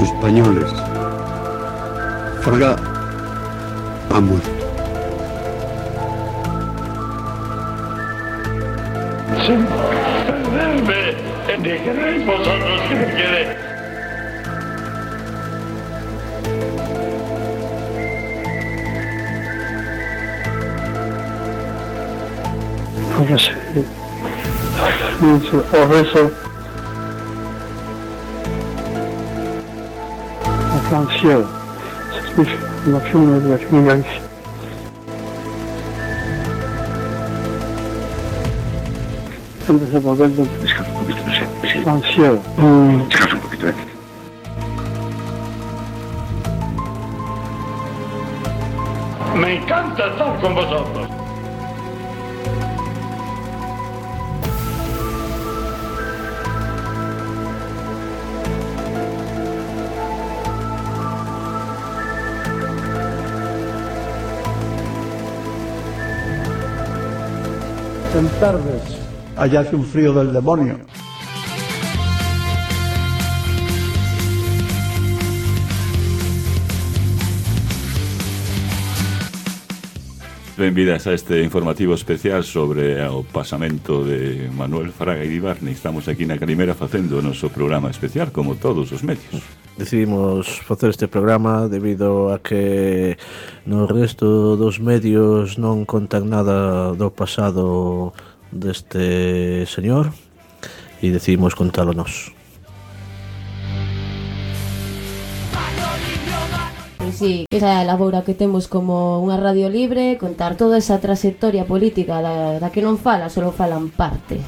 españoles. Fraga ha muerto. Sin perderme, dijerais vosotros que me quede. Póngase o rezo en francés, la figura de la finance. Antes de volver de Descansa un poquito, no sé. francés. Descansa un poquito, Me encanta estar con vosotros. En tardes, allá hace un frío del demonio. Benvidas a este informativo especial sobre o pasamento de Manuel Fraga Iribarne. Estamos aquí na Calimera facendo o noso programa especial, como todos os medios. Decidimos facer este programa debido a que no resto dos medios non contan nada do pasado deste señor e decidimos contalo nós. Sí, esa é a labora que temos como unha radio libre, contar toda esa trayectoria política da que non fala, solo falan parte.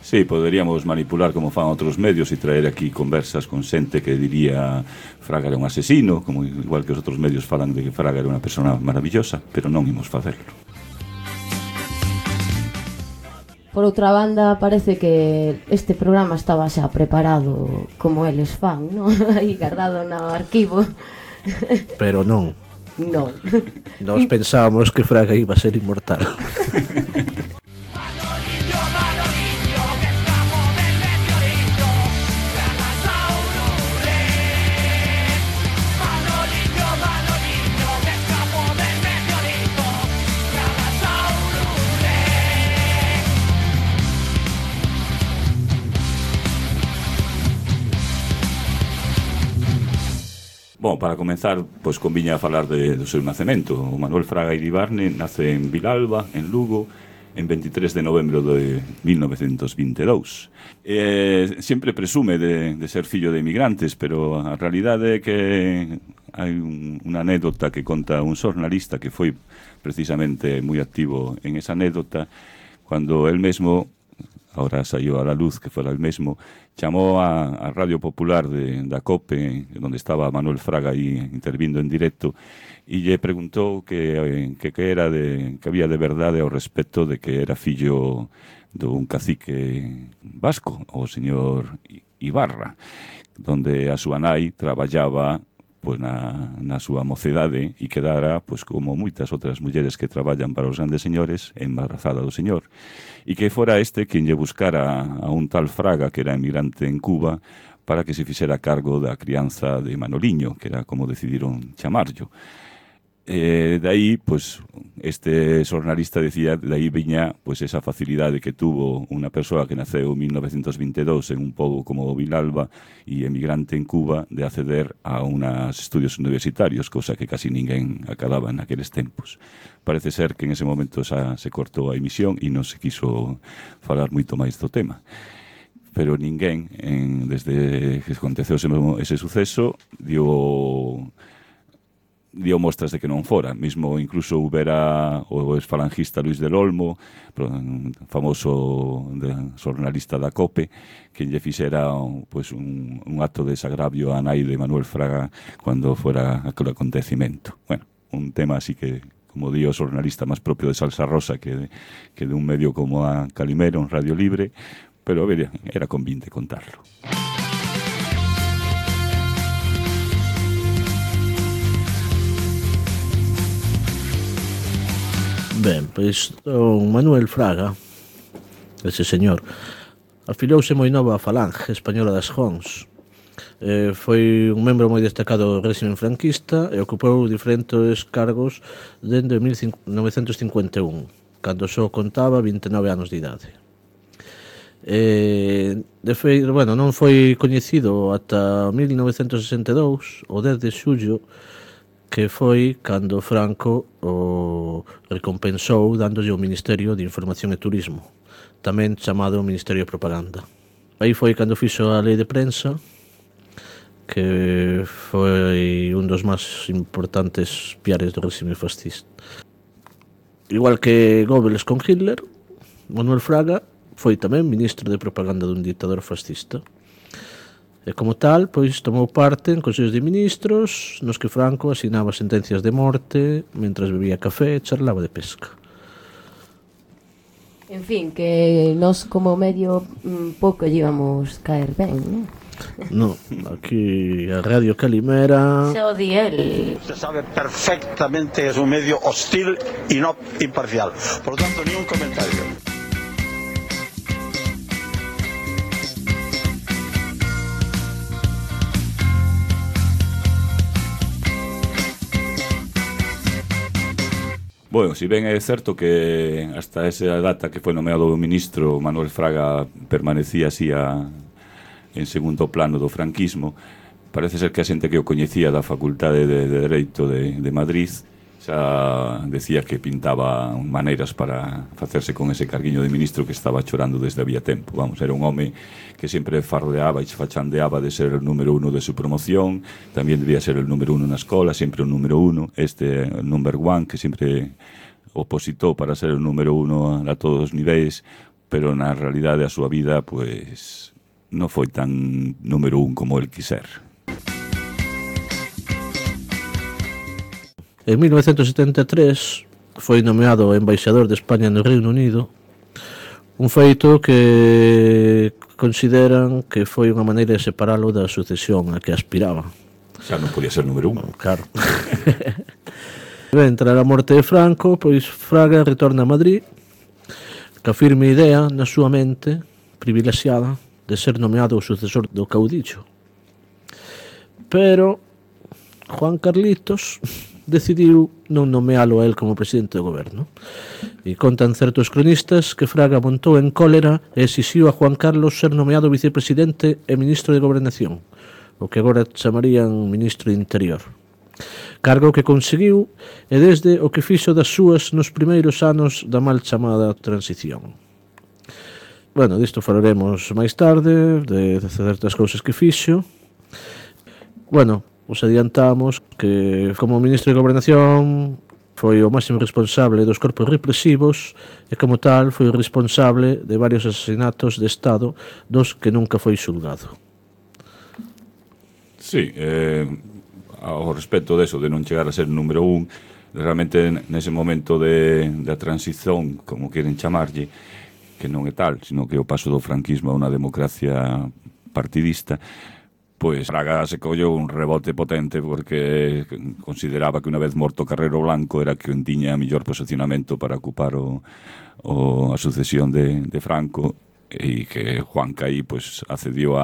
Sí, poderíamos manipular como fan outros medios e traer aquí conversas con xente que diría Fraga era un asesino, como igual que os outros medios falan de que Fraga era unha persona maravillosa, pero non imos facerlo. Por outra banda, parece que este programa estaba xa preparado como eles fan, non? Aí guardado no arquivo. Pero non. Non. Nos pensábamos que Fraga iba a ser inmortal. Bom, para comenzar, pois conviña a falar do seu nacemento. O Manuel Fraga Iribarne nace en Vilalba, en Lugo, en 23 de novembro de 1922. Sempre presume de ser fillo de emigrantes, pero a realidade é que hai unha anécdota que conta un xornalista que foi precisamente moi activo en esa anécdota, cando el mesmo, ahora saiu a la luz que fora el mesmo, chamou a Radio Popular da COPE, onde estaba Manuel Fraga aí intervindo en directo, e lle preguntou que era que había de verdade ao respecto de que era fillo dun cacique vasco, o señor Ibarra, donde a súa nai traballaba pois na súa mocedade e quedara, pois como moitas outras mulleres que traballan para os grandes señores, embarazada do señor. E que fora este quen lle buscara a un tal Fraga, que era emigrante en Cuba, para que se fixera cargo da crianza de Manoliño, que era como decidiron chamarllo. De aí, pois, este xornalista decía, de aí viña pois, esa facilidade que tuvo unha persoa que naceu en 1922 en un pobo como Vilalba e emigrante en Cuba de acceder a unos estudios universitarios, cosa que casi ninguén acababa en aqueles tempos. Parece ser que en ese momento xa se cortou a emisión e non se quiso falar moito máis do tema. Pero ninguén, desde que aconteceu ese suceso, dio mostras de que non fora. Mismo incluso houbera o exfalangista Luis del Olmo, famoso xornalista da COPE, que lle fixera pois, un acto de desagravio a nai de Manuel Fraga cando fora aquele acontecimento. Bueno, un tema así que, como di o xornalista, máis propio de Salsa Rosa que de un medio como a Calimera, un radio libre, pero era convinte contarlo. Ben, pois don Manuel Fraga, ese señor, Afilouse moi nova a Falange Española das Jons. Foi un membro moi destacado do réxime franquista e ocupou diferentes cargos dende 1951, cando só contaba 29 anos de idade. De feito, non foi coñecido ata 1962, o 10 de xullo, que foi cando Franco o recompensou dándolle o Ministerio de Información e Turismo, tamén chamado Ministerio de Propaganda. Aí foi cando fixo a lei de prensa, que foi un dos máis importantes piares do réxime fascista. Igual que Goebbels con Hitler, Manuel Fraga foi tamén ministro de propaganda dun dictador fascista. E como tal, pois tomou parte en consellos de ministros nos que Franco asinaba sentencias de morte mentras bebía café e charlaba de pesca. En fin, que nós como medio pouco lle íbamos caer ben, non? No, aquí a Radio Calimera... Xa o di el. Se sabe perfectamente que es un medio hostil y no imparcial. Por lo tanto, ni un comentario. Bueno, si ben é certo que hasta esa data que foi nomeado o ministro, Manuel Fraga permanecía así en segundo plano do franquismo, parece ser que a xente que o coñecía da Facultade de Dereito de Madrid xa decía que pintaba maneiras para facerse con ese carguiño de ministro que estaba chorando desde había tempo. Vamos, era un home que sempre fardeaba e fachandeaba de ser o número 1 de su promoción, tamén debía ser el número 1 na escola, sempre o número 1, number 1, que sempre opositou para ser o número 1 a todos os niveis, pero na realidade a súa vida, pues, non foi tan número 1 como el quiser. En 1973 foi nomeado embaixador de España no Reino Unido, un feito que consideran que foi unha maneira de separalo da sucesión a que aspiraba. Xa non podía ser número 1. Claro. Ben, tras a morte de Franco, pois Fraga retorna a Madrid ca firme idea na súa mente privilexiada de ser nomeado o sucesor do caudillo. Pero Juan Carlitos decidiu non nomealo a él como presidente do goberno. E contan certos cronistas que Fraga montou en cólera e exixiu a Juan Carlos ser nomeado vicepresidente e ministro de Gobernación, o que agora chamarían ministro de Interior. Cargo que conseguiu e desde o que fixo das súas nos primeiros anos da mal chamada transición. Bueno, disto falaremos máis tarde, de certas cousas que fixo. Bueno, os adiantamos que como ministro de Gobernación foi o máximo responsable dos corpos represivos e como tal foi o responsable de varios asesinatos de Estado dos que nunca foi xulgado. Sí, ao respecto deso de non chegar a ser número 1, realmente nese momento da transición, como queren chamarlle, que non é tal, sino que o paso do franquismo a unha democracia partidista, pois Fraga se collou un rebote potente porque consideraba que unha vez morto Carrero Blanco era que tiña mellor posicionamento para ocupar a sucesión de Franco e que Juan Caí pues, accedió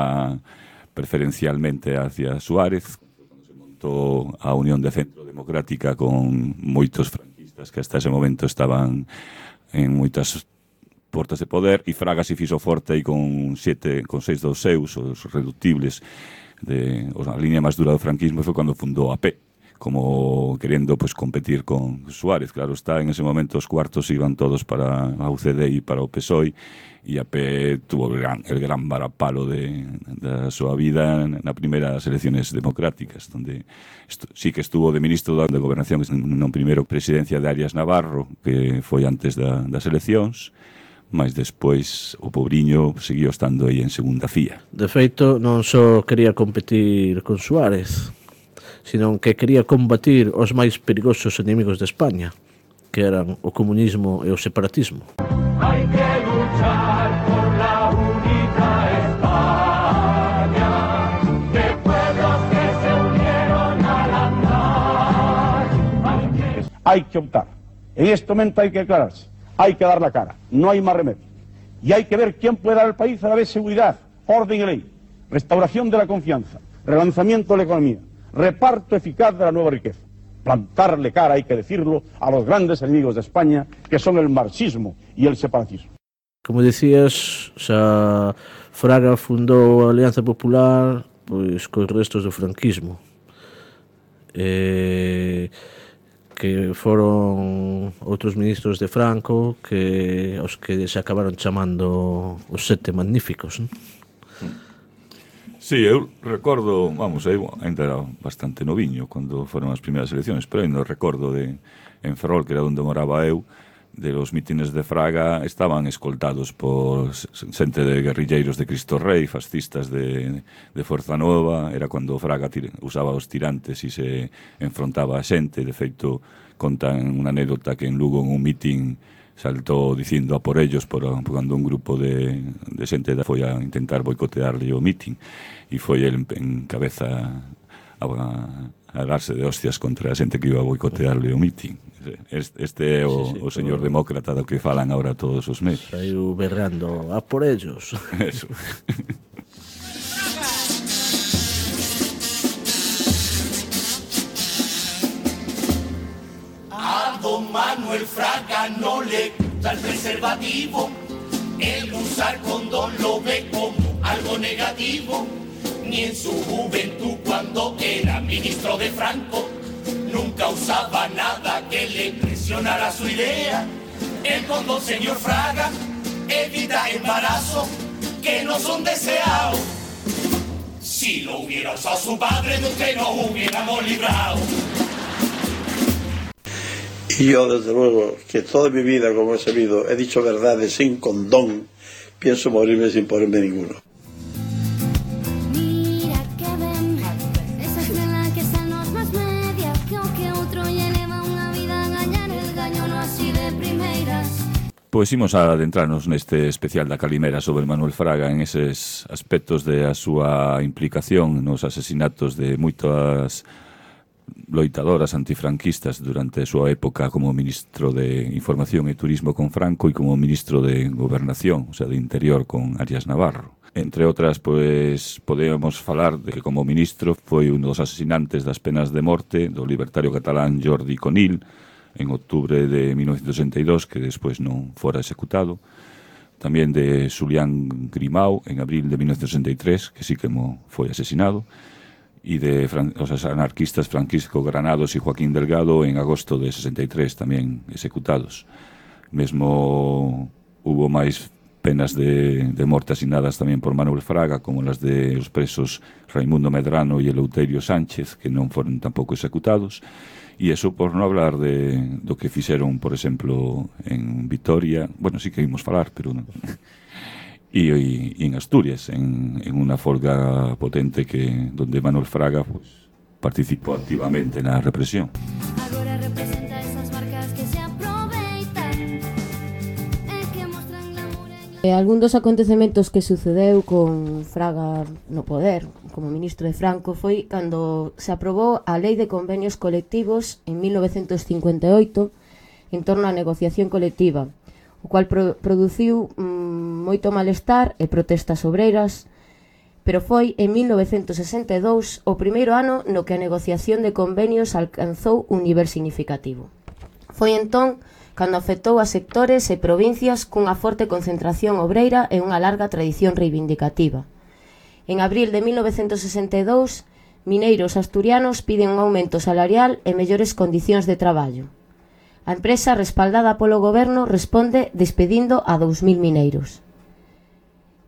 preferencialmente hacia Suárez cando se montou a Unión de Centro Democrática con moitos franquistas que hasta ese momento estaban en moitas portas de poder e Fraga se fixo forte aí con 6 dos seus, os reductibles a línea máis dura do franquismo foi cando fundou a AP, como querendo pues, competir con Suárez. Claro está, en ese momento os cuartos iban todos para a UCD e para o PSOE e a AP tuvo el gran varapalo da súa vida na primeiras elecciones democráticas, donde sí que estuvo de ministro de Gobernación non primeiro presidencia de Arias Navarro, que foi antes das eleccións, mas despois o pobriño seguiu estando aí en segunda fía. De feito, non só quería competir con Suárez, sino que quería combatir os máis perigosos enemigos de España, que eran o comunismo e o separatismo. Hay que luchar por la unida España, de pueblos que se unieron al andar. Hay que optar. En este momento hay que aclararse. Hay que dar la cara, no hay más remedio. Y hay que ver quién puede dar al país a la vez seguridad, orden y ley, restauración de la confianza, relanzamiento de la economía, reparto eficaz de la nueva riqueza. Plantarle cara, hay que decirlo, a los grandes enemigos de España, que son el marxismo y el separatismo. Como decías, xa Fraga fundou a Alianza Popular pois cos restos do franquismo, que foron outros ministros de Franco que os que se acabaron chamando os Sete Magníficos, non? Sí, eu recordo, vamos, eu ainda era bastante noviño cando foron as primeiras eleccións, pero ainda recordo en Ferrol, que era onde moraba eu, de los mítines de Fraga estaban escoltados por xente de guerrilleiros de Cristo Rei, fascistas de Forza Nova. Era cando Fraga usaba os tirantes e se enfrontaba a xente. De feito, contan unha anécdota que en Lugo en un mítin saltou dicindo a por ellos cando un grupo de xente foi a intentar boicotearle o mítin, e foi el en cabeza a darse de hostias contra a xente que iba a boicotearle o mítin. Este é o señor demócrata do que falan agora todos os meses. Saiu berrando a por ellos. Eso. A don Manuel Fraga no le gusta el preservativo. El usar condón lo ve como algo negativo. Ni en su juventud cuando era ministro de Franco nunca usaba nada que le impresionara su idea. El condón, señor Fraga, evita embarazo que no son deseados. Si lo hubiera usado su padre, de usted nos hubiéramos librado. Y yo, desde luego, que toda mi vida, como he sabido, he dicho verdades sin condón, pienso morirme sin ponerme ninguno. Pois imos a adentrarnos neste especial da Calimera sobre Manuel Fraga en eses aspectos de a súa implicación nos asesinatos de moitas loitadoras antifranquistas durante a súa época como ministro de Información e Turismo con Franco e como ministro de Gobernación, o sea, de Interior con Arias Navarro. Entre outras, pois, podemos falar de que como ministro foi un dos asesinantes das penas de morte do libertario catalán Jordi Conill en outubro de 1962, que despois non fora executado. Tamén de Julián Grimau en abril de 1963, que sí que foi asesinado, e de os anarquistas Francisco Granados e Joaquín Delgado en agosto de 63, tamén executados. Mesmo hubo máis penas de morte asinadas tamén por Manuel Fraga, como las de os presos Raimundo Medrano e Eleuterio Sánchez, que non foron tampouco executados. E eso por non hablar do que fixeron, por exemplo, en Vitoria, bueno, sí que ímos falar, pero non. E en Asturias, en unha folga potente donde Manuel Fraga pues, participou activamente na represión. Agora representa esas marcas que se aproveitan e que mostran glamour. Algún dos acontecementos que sucedeu con Fraga no poder como ministro de Franco foi cando se aprobou a Lei de Convenios Colectivos en 1958 en torno á negociación colectiva, o cual produciu moito malestar e protestas obreiras, pero foi en 1962 o primeiro ano no que a negociación de convenios alcanzou un nivel significativo. Foi entón cando afectou a sectores e provincias cunha forte concentración obreira e unha larga tradición reivindicativa. En abril de 1962, mineiros asturianos piden un aumento salarial e mellores condicións de traballo. A empresa, respaldada polo goberno, responde despedindo a 2.000 mineiros.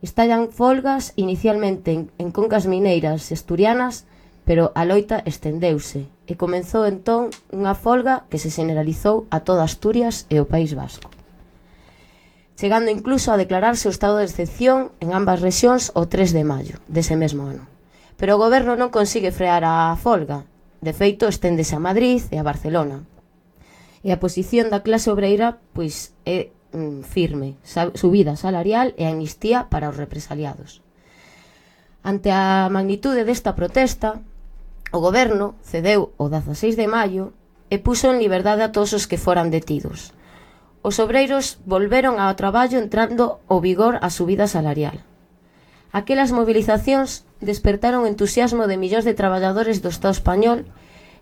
Estallan folgas inicialmente en concas mineiras asturianas, pero a loita estendeuse e comenzou entón unha folga que se generalizou a toda Asturias e o País Vasco, chegando incluso a declararse o estado de excepción en ambas rexións o 3 de maio dese mesmo ano. Pero o goberno non consigue frear a folga, de feito esténdese a Madrid e a Barcelona. E a posición da clase obreira pois é firme, subida salarial e amnistía para os represaliados. Ante a magnitude desta protesta, o goberno cedeu o 16 de maio e puso en liberdade a todos os que foran detidos. os obreiros volveron ao traballo entrando o vigor a subida salarial. Aquelas movilizacións despertaron o entusiasmo de millóns de traballadores do Estado español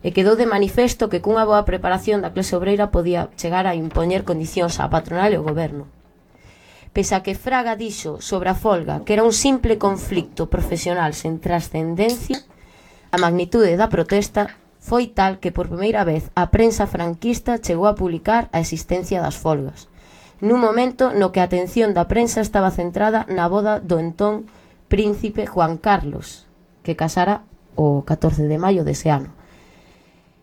e quedou de manifesto que cunha boa preparación da clase obreira podía chegar a impoñer condicións á patronal e ao goberno. Pese a que Fraga dixo sobre a folga que era un simple conflicto profesional sen trascendencia, a magnitude da protesta foi tal que por primeira vez a prensa franquista chegou a publicar a existencia das folgas, nun momento no que a atención da prensa estaba centrada na boda do entón príncipe Juan Carlos, que casara o 14 de maio dese ano.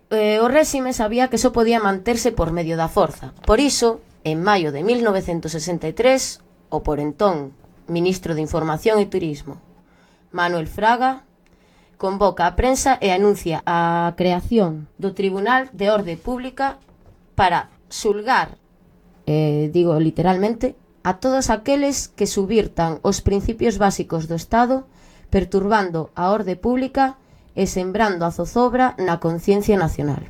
O réxime sabía que só podía manterse por medio da forza. Por iso, en maio de 1963, o por entón ministro de Información e Turismo, Manuel Fraga, convoca a prensa e anuncia a creación do Tribunal de Orde Pública para xulgar, digo literalmente, a todos aqueles que subvirtan os principios básicos do Estado, perturbando a orde pública e sembrando a zozobra na conciencia nacional.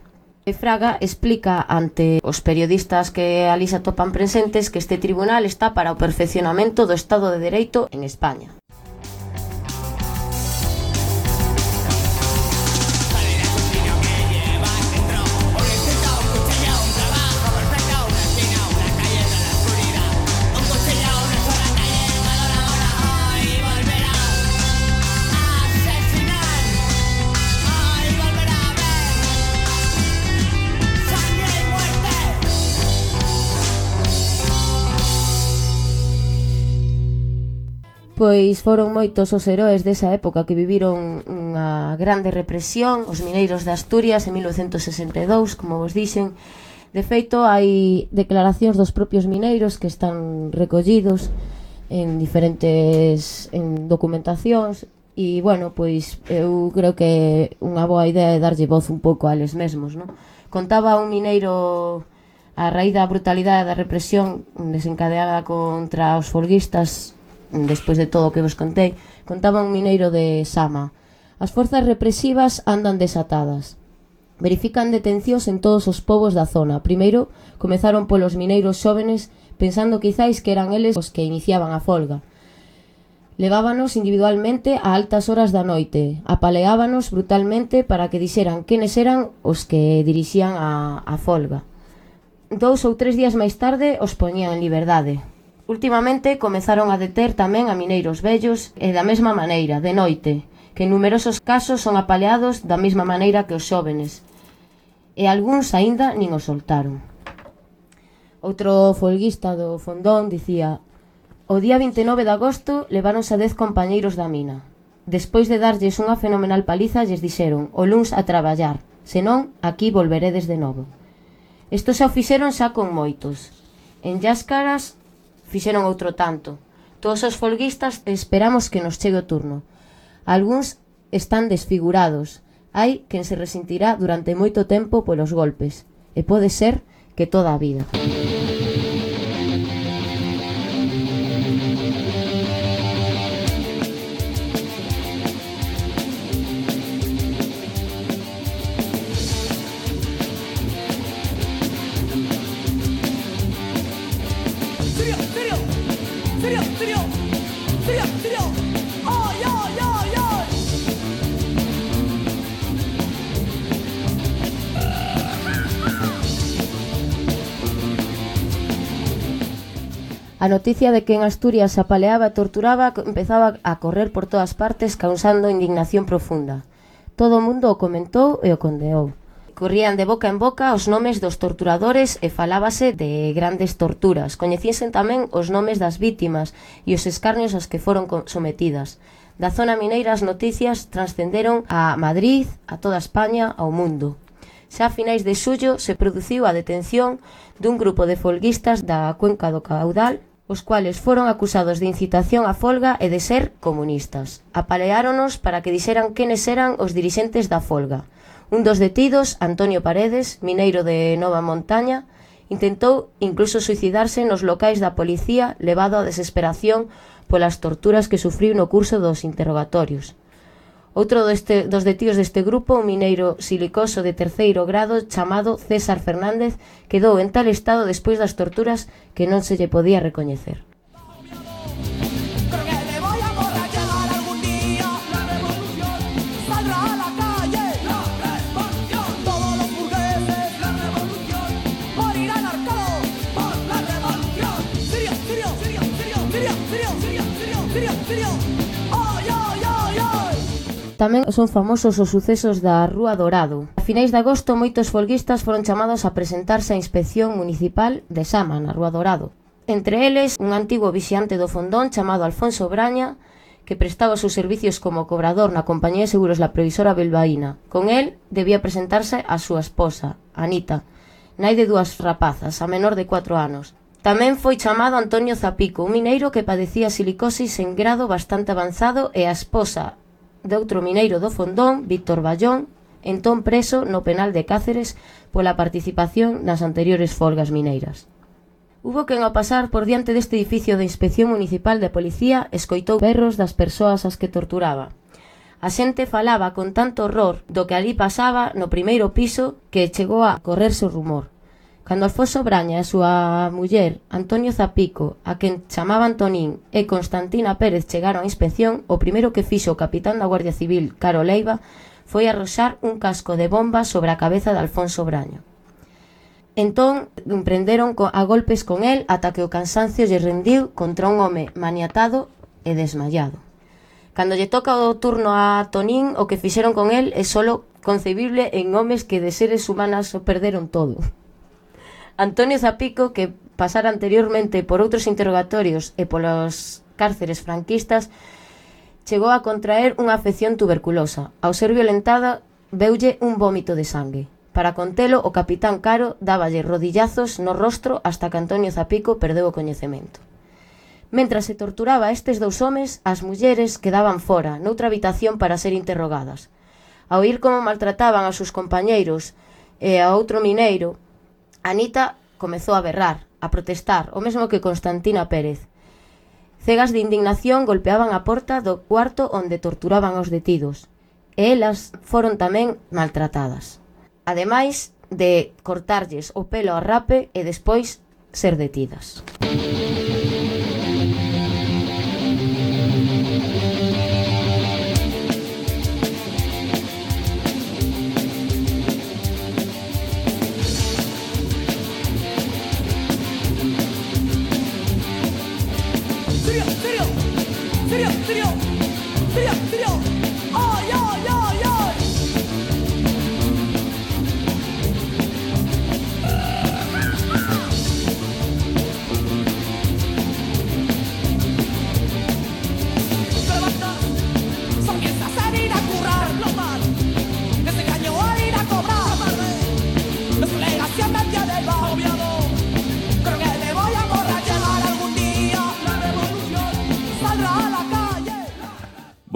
E Fraga explica ante os periodistas que ali se atopan presentes que este tribunal está para o perfeccionamento do Estado de Dereito en España. Pois foron moitos os heróis desa época que viviron unha grande represión, os mineiros de Asturias en 1962, como vos dixen. De feito, hai declaracións dos propios mineiros que están recollidos en diferentes documentacións e, bueno, pois eu creo que unha boa idea é darlle voz un pouco a eles mesmos, non? Contaba un mineiro a raíz da brutalidade da represión desencadeada contra os folguistas. Despois de todo o que vos contei, contaba un mineiro de Sama: as forzas represivas andan desatadas. Verifican detencións en todos os povos da zona. Primeiro, comezaron polos mineiros xóvenes, pensando quizáis que eran eles os que iniciaban a folga. Levábanos individualmente a altas horas da noite, apaleábanos brutalmente para que dixeran quenes eran os que dirixían a folga. 2 ou 3 días máis tarde os poñían en liberdade. Últimamente comezaron a deter tamén a mineiros vellos e da mesma maneira, de noite, que en numerosos casos son apaleados da mesma maneira que os xóvenes, e algúns aínda nin os soltaron. Outro folguista do Fondón dicía: o día 29 de agosto leváronse a 10 compañeiros da mina. Despois de darlles unha fenomenal paliza, lles dixeron: o luns a traballar, senón aquí volveredes de novo. Isto xa o fixeron xa con moitos. En Lláscaras fixeron outro tanto. Todos os folguistas esperamos que nos chegue o turno. Algúns están desfigurados. Hai quen se resentirá durante moito tempo polos golpes. E pode ser que toda a vida. A noticia de que en Asturias se apaleaba e torturaba empezaba a correr por todas partes, causando indignación profunda. Todo o mundo o comentou e o condeou. Corrían de boca en boca os nomes dos torturadores e falábase de grandes torturas. Coñecíanse tamén os nomes das vítimas e os escarnios aos que foron sometidas. Da zona mineira as noticias transcenderon a Madrid, a toda España, ao mundo. Xa a finais de xullo se produciu a detención dun grupo de folguistas da cuenca do Caudal, os cuales foron acusados de incitación á folga e de ser comunistas. Apaleáronos para que dixeran quenes eran os dirixentes da folga. Un dos detidos, Antonio Paredes, mineiro de Nova Montaña, intentou incluso suicidarse nos locais da policía, levado á desesperación polas torturas que sufriu no curso dos interrogatorios. Outro dos detidos deste grupo, un mineiro silicoso de terceiro grado chamado César Fernández, quedou en tal estado despois das torturas que non se lle podía recoñecer. Tamén son famosos os sucesos da Rúa Dorado. A finais de agosto, moitos folguistas foron chamados a presentarse á Inspección Municipal de Sama, na Rúa Dorado. Entre eles, un antigo vixiante do Fondón chamado Alfonso Braña, que prestaba os seus servicios como cobrador na compañía de seguros La Previsora Bilbaína. Con él debía presentarse a súa esposa, Anita, nai de 2 rapazas, a menor de 4 anos. Tamén foi chamado Antonio Zapico, un mineiro que padecía silicosis en grado bastante avanzado, e a esposa de outro mineiro do Fondón, Víctor Ballón, entón preso no penal de Cáceres pola participación nas anteriores folgas mineiras. Hubo quen ao pasar por diante deste edificio de Inspección Municipal de Policía escoitou berros das persoas ás que torturaba. A xente falaba con tanto horror do que ali pasaba no primeiro piso que chegou a correrse o rumor. Cando Alfonso Braña e a súa muller, Antonio Zapico, a quen chamaba Antonín, e Constantina Pérez chegaron á inspección, o primeiro que fixo o capitán da Guardia Civil, Caro Leiva, foi arroxar un casco de bomba sobre a cabeza de Alfonso Braña. Entón, prenderon a golpes con el ata que o cansancio lle rendiu contra un home maniatado e desmayado. Cando lle toca o turno a Tonín, o que fixeron con el é solo concebible en homes que de seres humanas o perderon todo. Antonio Zapico, que pasara anteriormente por outros interrogatorios e polos cárceres franquistas, chegou a contraer unha afección tuberculosa. Ao ser violentada, veulle un vómito de sangue. Para contelo, o capitán Caro dáballe rodillazos no rostro hasta que Antonio Zapico perdeu o coñecemento. Mentras se torturaba a estes 2 homes, as mulleres quedaban fora, noutra habitación para ser interrogadas. Ao oír como maltrataban aos seus compañeiros e a outro mineiro, Anita comezou a berrar, a protestar, o mesmo que Constantina Pérez. Cegas de indignación golpeaban a porta do cuarto onde torturaban aos detidos, e elas foron tamén maltratadas. Ademais de cortarlles o pelo a rape e despois ser detidas.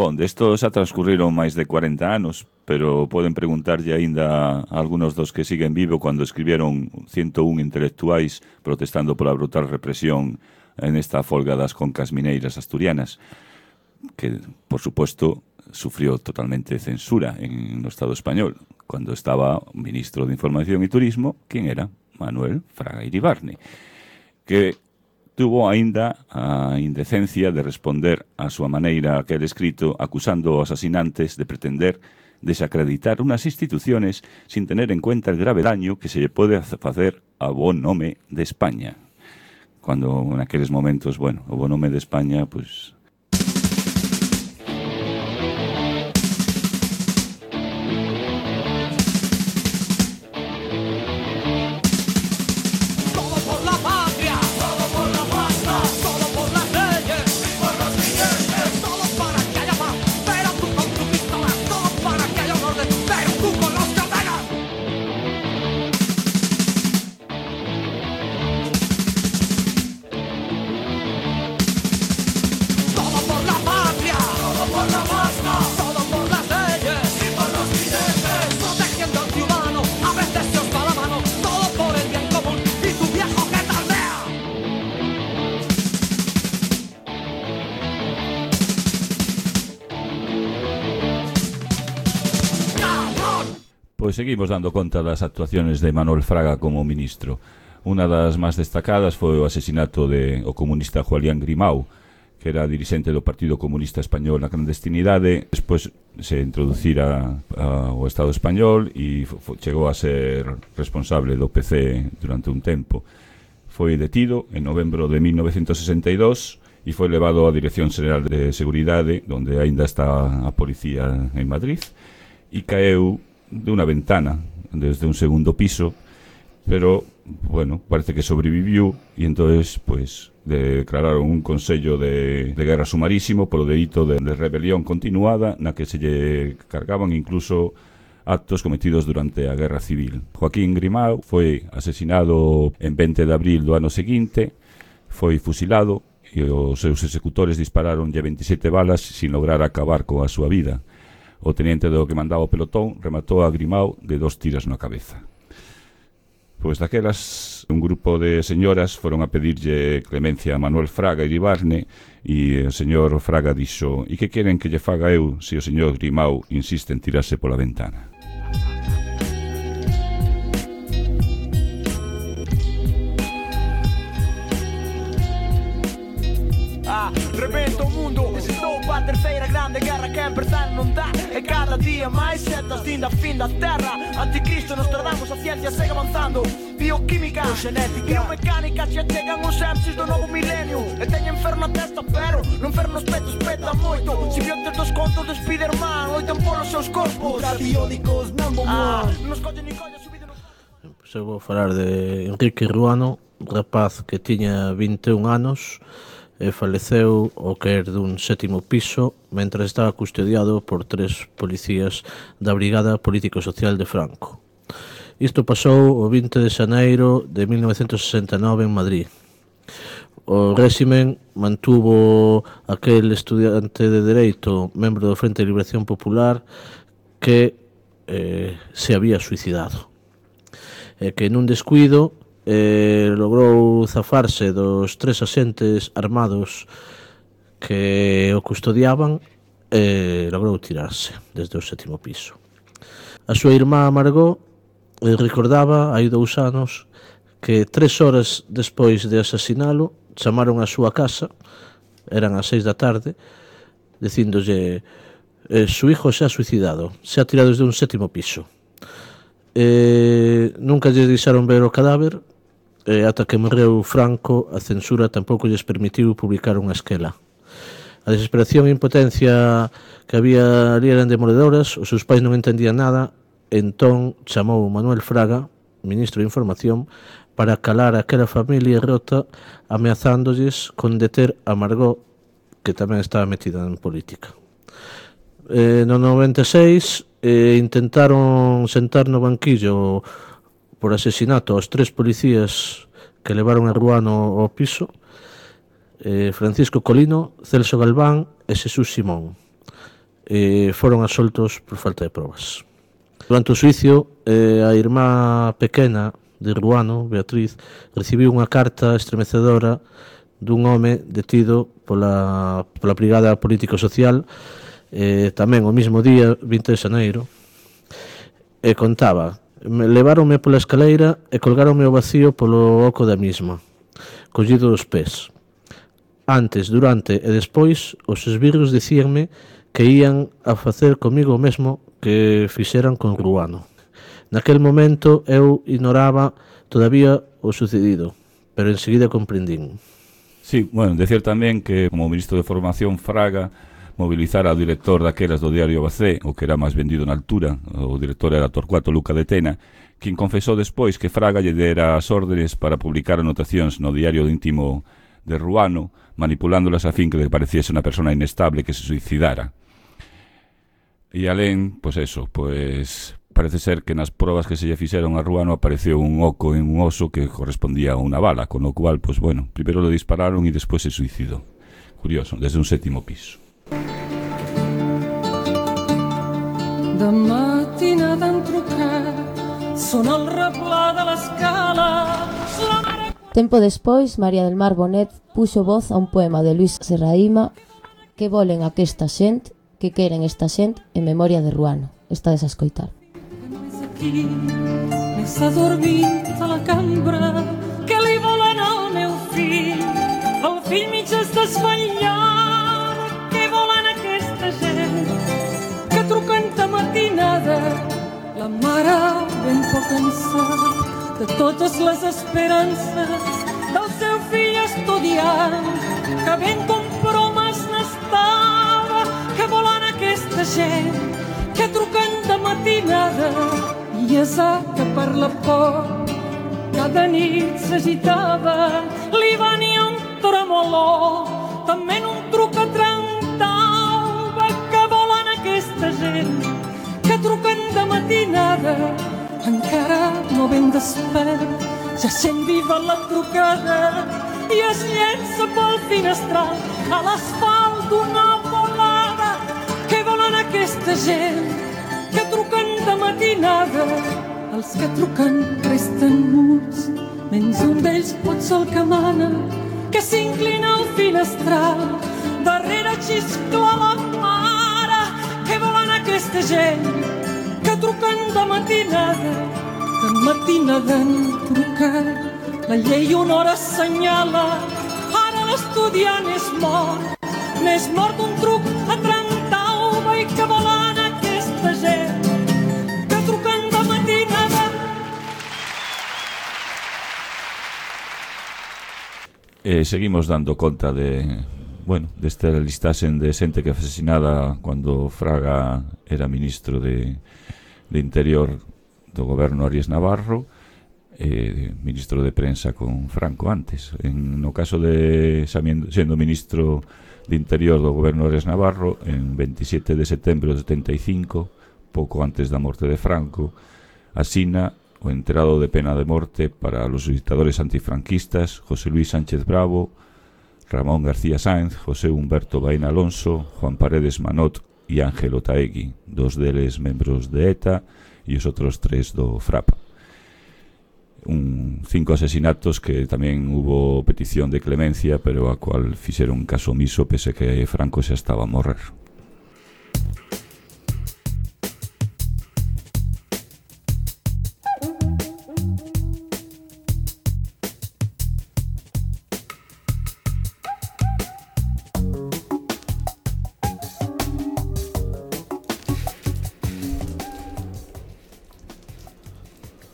Bon, destos xa transcurriron máis de 40 anos, pero poden preguntarlle aínda a algunos dos que siguen vivo cando escribieron 101 intelectuais protestando pola brutal represión en esta folga das concas mineiras asturianas, que, por suposto, sufrió totalmente censura no Estado español, cando estaba ministro de Información e Turismo, quen era Manuel Fraga Iribarne, que tuvo aínda a indecencia de responder a súa maneira a aquel escrito acusando aos asinantes de pretender desacreditar unas instituciones sin tener en cuenta el grave daño que se lle pode facer ao bon nome de España. Cuando en aqueles momentos, bueno, o bon nome de España, pues... Pois seguimos dando conta das actuaciones de Manuel Fraga como ministro. Unha das máis destacadas foi o asesinato do comunista Julián Grimau, que era dirixente do Partido Comunista Español na clandestinidade. Despois se introducira ao Estado Español e chegou a ser responsable do PC durante un tempo. Foi detido en novembro de 1962 e foi levado á Dirección Xeral de Seguridade, onde aínda está a policía en Madrid, e caeu de unha ventana desde un segundo piso, pero, bueno, parece que sobreviviu e entonces, pues, declararon un consello de guerra sumarísimo polo delito de rebelión continuada na que se lle cargaban incluso actos cometidos durante a Guerra Civil. Joaquín Grimau foi asesinado en 20 de abril do ano seguinte, foi fusilado e os seus executores dispararonlle 27 balas sin lograr acabar coa súa vida. O teniente do que mandaba o pelotón rematou a Grimau de 2 tiros na cabeza. Pois daquelas, un grupo de señoras foron a pedirlle clemencia a Manuel Fraga Iribarne e o señor Fraga dixo: "E que queren que lle faga eu se o señor Grimau insiste en tirarse pola ventana?" Rebenta o mundo, estou para a terceira grande guerra que empezar non dá. E cada día máis setas din a fin da terra. Anticristo, nos tardamos, a ciencia segue avanzando. Bioquímica, genética, biomecánica, xa chegan os MCs do novo milenio. E teñen fer na testa, pero non fer nos petos, peta moito. Simbiontes dos contos de Spiderman loitan polos seus corpos. Ultrabiónicos, number one. Nos collen e collen subido nos... Eu vou falar de Enrique Ruano, rapaz que tiña 21 anos e faleceu ao caer dun 7º piso mentre estaba custodiado por 3 policías da Brigada Político-Social de Franco. Isto pasou o 20 de xaneiro de 1969 en Madrid. O réximen mantuvo aquel estudiante de Dereito, membro do Frente de Liberación Popular, que se había suicidado. E que nun descuido logrou zafarse dos 3 axentes armados que o custodiaban e logrou tirarse desde o 7º piso. A súa irmá Margot recordaba hai 2 anos que 3 horas despois de asasinalo chamaron a súa casa, eran as 6 da tarde, dicíndolle: "Su hijo se ha suicidado, se ha tirado desde un 7º piso". Nunca lles deixaron ver o cadáver. Ata que morreu Franco, a censura tampouco lles permitiu publicar unha esquela. A desesperación e impotencia que había ali eran demoledoras, os seus pais non entendían nada, entón chamou Manuel Fraga, ministro de Información, para calar aquela familia rota, ameazándolles con deter a Margot, que tamén estaba metida en política. No 96 intentaron sentar no banquillo por asesinato aos 3 policías que levaron a Ruano ao piso, Francisco Colino, Celso Galván e Xesús Simón. Foron absoltos por falta de probas. Durante o xuicio, a irmá pequena de Ruano, Beatriz, recibiu unha carta estremecedora dun home detido pola Brigada Político-Social tamén o mismo día, 20 de xaneiro, e contaba: "Leváronme pola escaleira e colgáronme ao vacío polo oco da misma, collido dos pés. Antes, durante e despois, os esbirros dicíanme que ían a facer comigo o mesmo que fixeran con Ruano. Naquel momento eu ignoraba todavía o sucedido, pero enseguida comprendín." Sí, bueno, decir tamén que como ministro de Formación Fraga mobilizar ao director daquelas do diario ABC, o que era máis vendido na altura, o director era Torcuato Luca de Tena, quien confesou despois que Fraga lle dera as órdenes para publicar anotacións no diario íntimo de Ruano, manipulándolas a fin que le pareciese unha persona inestable que se suicidara. E alén, pois eso, pois parece ser que nas probas que se lle fixeron a Ruano apareceu un oco en un oso que correspondía a unha bala, con o cual, pois bueno, primeiro lo dispararon e despois se suicidou. Curioso, desde un 7º piso. De mattinata en trucat, sona el replà de l'escala. Tempo despois, María del Mar Bonet puxo voz a un poema de Luis Serraima, Que volen aquesta xent, que queren esta xent, en memoria de Ruano. Estades a escoitar. aquí, nessa dormint a la cambra, que li volen al meu fill. El fill mig es desvetllat, què volen aquesta gent? Que truquen de matinada, la mare ben poc cansada de totes les esperances del seu fill estudiant, que ben compromes n'estava. Que volen aquesta gent que truquen de matinada, i és que per la por cada nit s'agitava. Li venia un tremolor, també en un truc a trencava. Que volen aquesta gent que truquen de matinada, encara no ben despert, ja sent viva la trucada i es llença pel finestral a l'asfalt d'una volada. Què volen aquesta gent que truquen de matinada? Els que truquen resten muts, menys un d'ells pot ser el que mana, que s'inclina al finestral, darrere xiscla la mare. Què volen aquesta gent que truquen de matinada? De matinada han trucat, la llei una hora assenyala, ara l'estudiant és mort un truc a Trentauba. I que volen aquesta gent que truquen de matinada? Seguimos dando conta desta listaxen de xente que foi asesinada cando Fraga era ministro de Interior do goberno Arias Navarro, ministro de prensa con Franco antes. No caso de sendo ministro de Interior do goberno Arias Navarro, en 27 de setembro de 75, pouco antes da morte de Franco, asina o enterado de pena de morte para los dictadores antifranquistas José Luis Sánchez Bravo, Ramón García Sáenz, José Humberto Baena Alonso, Juan Paredes Manot e Ángel Otaegui, dos deles membros de ETA e os outros 3 do FRAP. 5 asesinatos que tamén hubo petición de clemencia, pero a cual fixeron caso omiso pese que Franco xa estaba a morrer.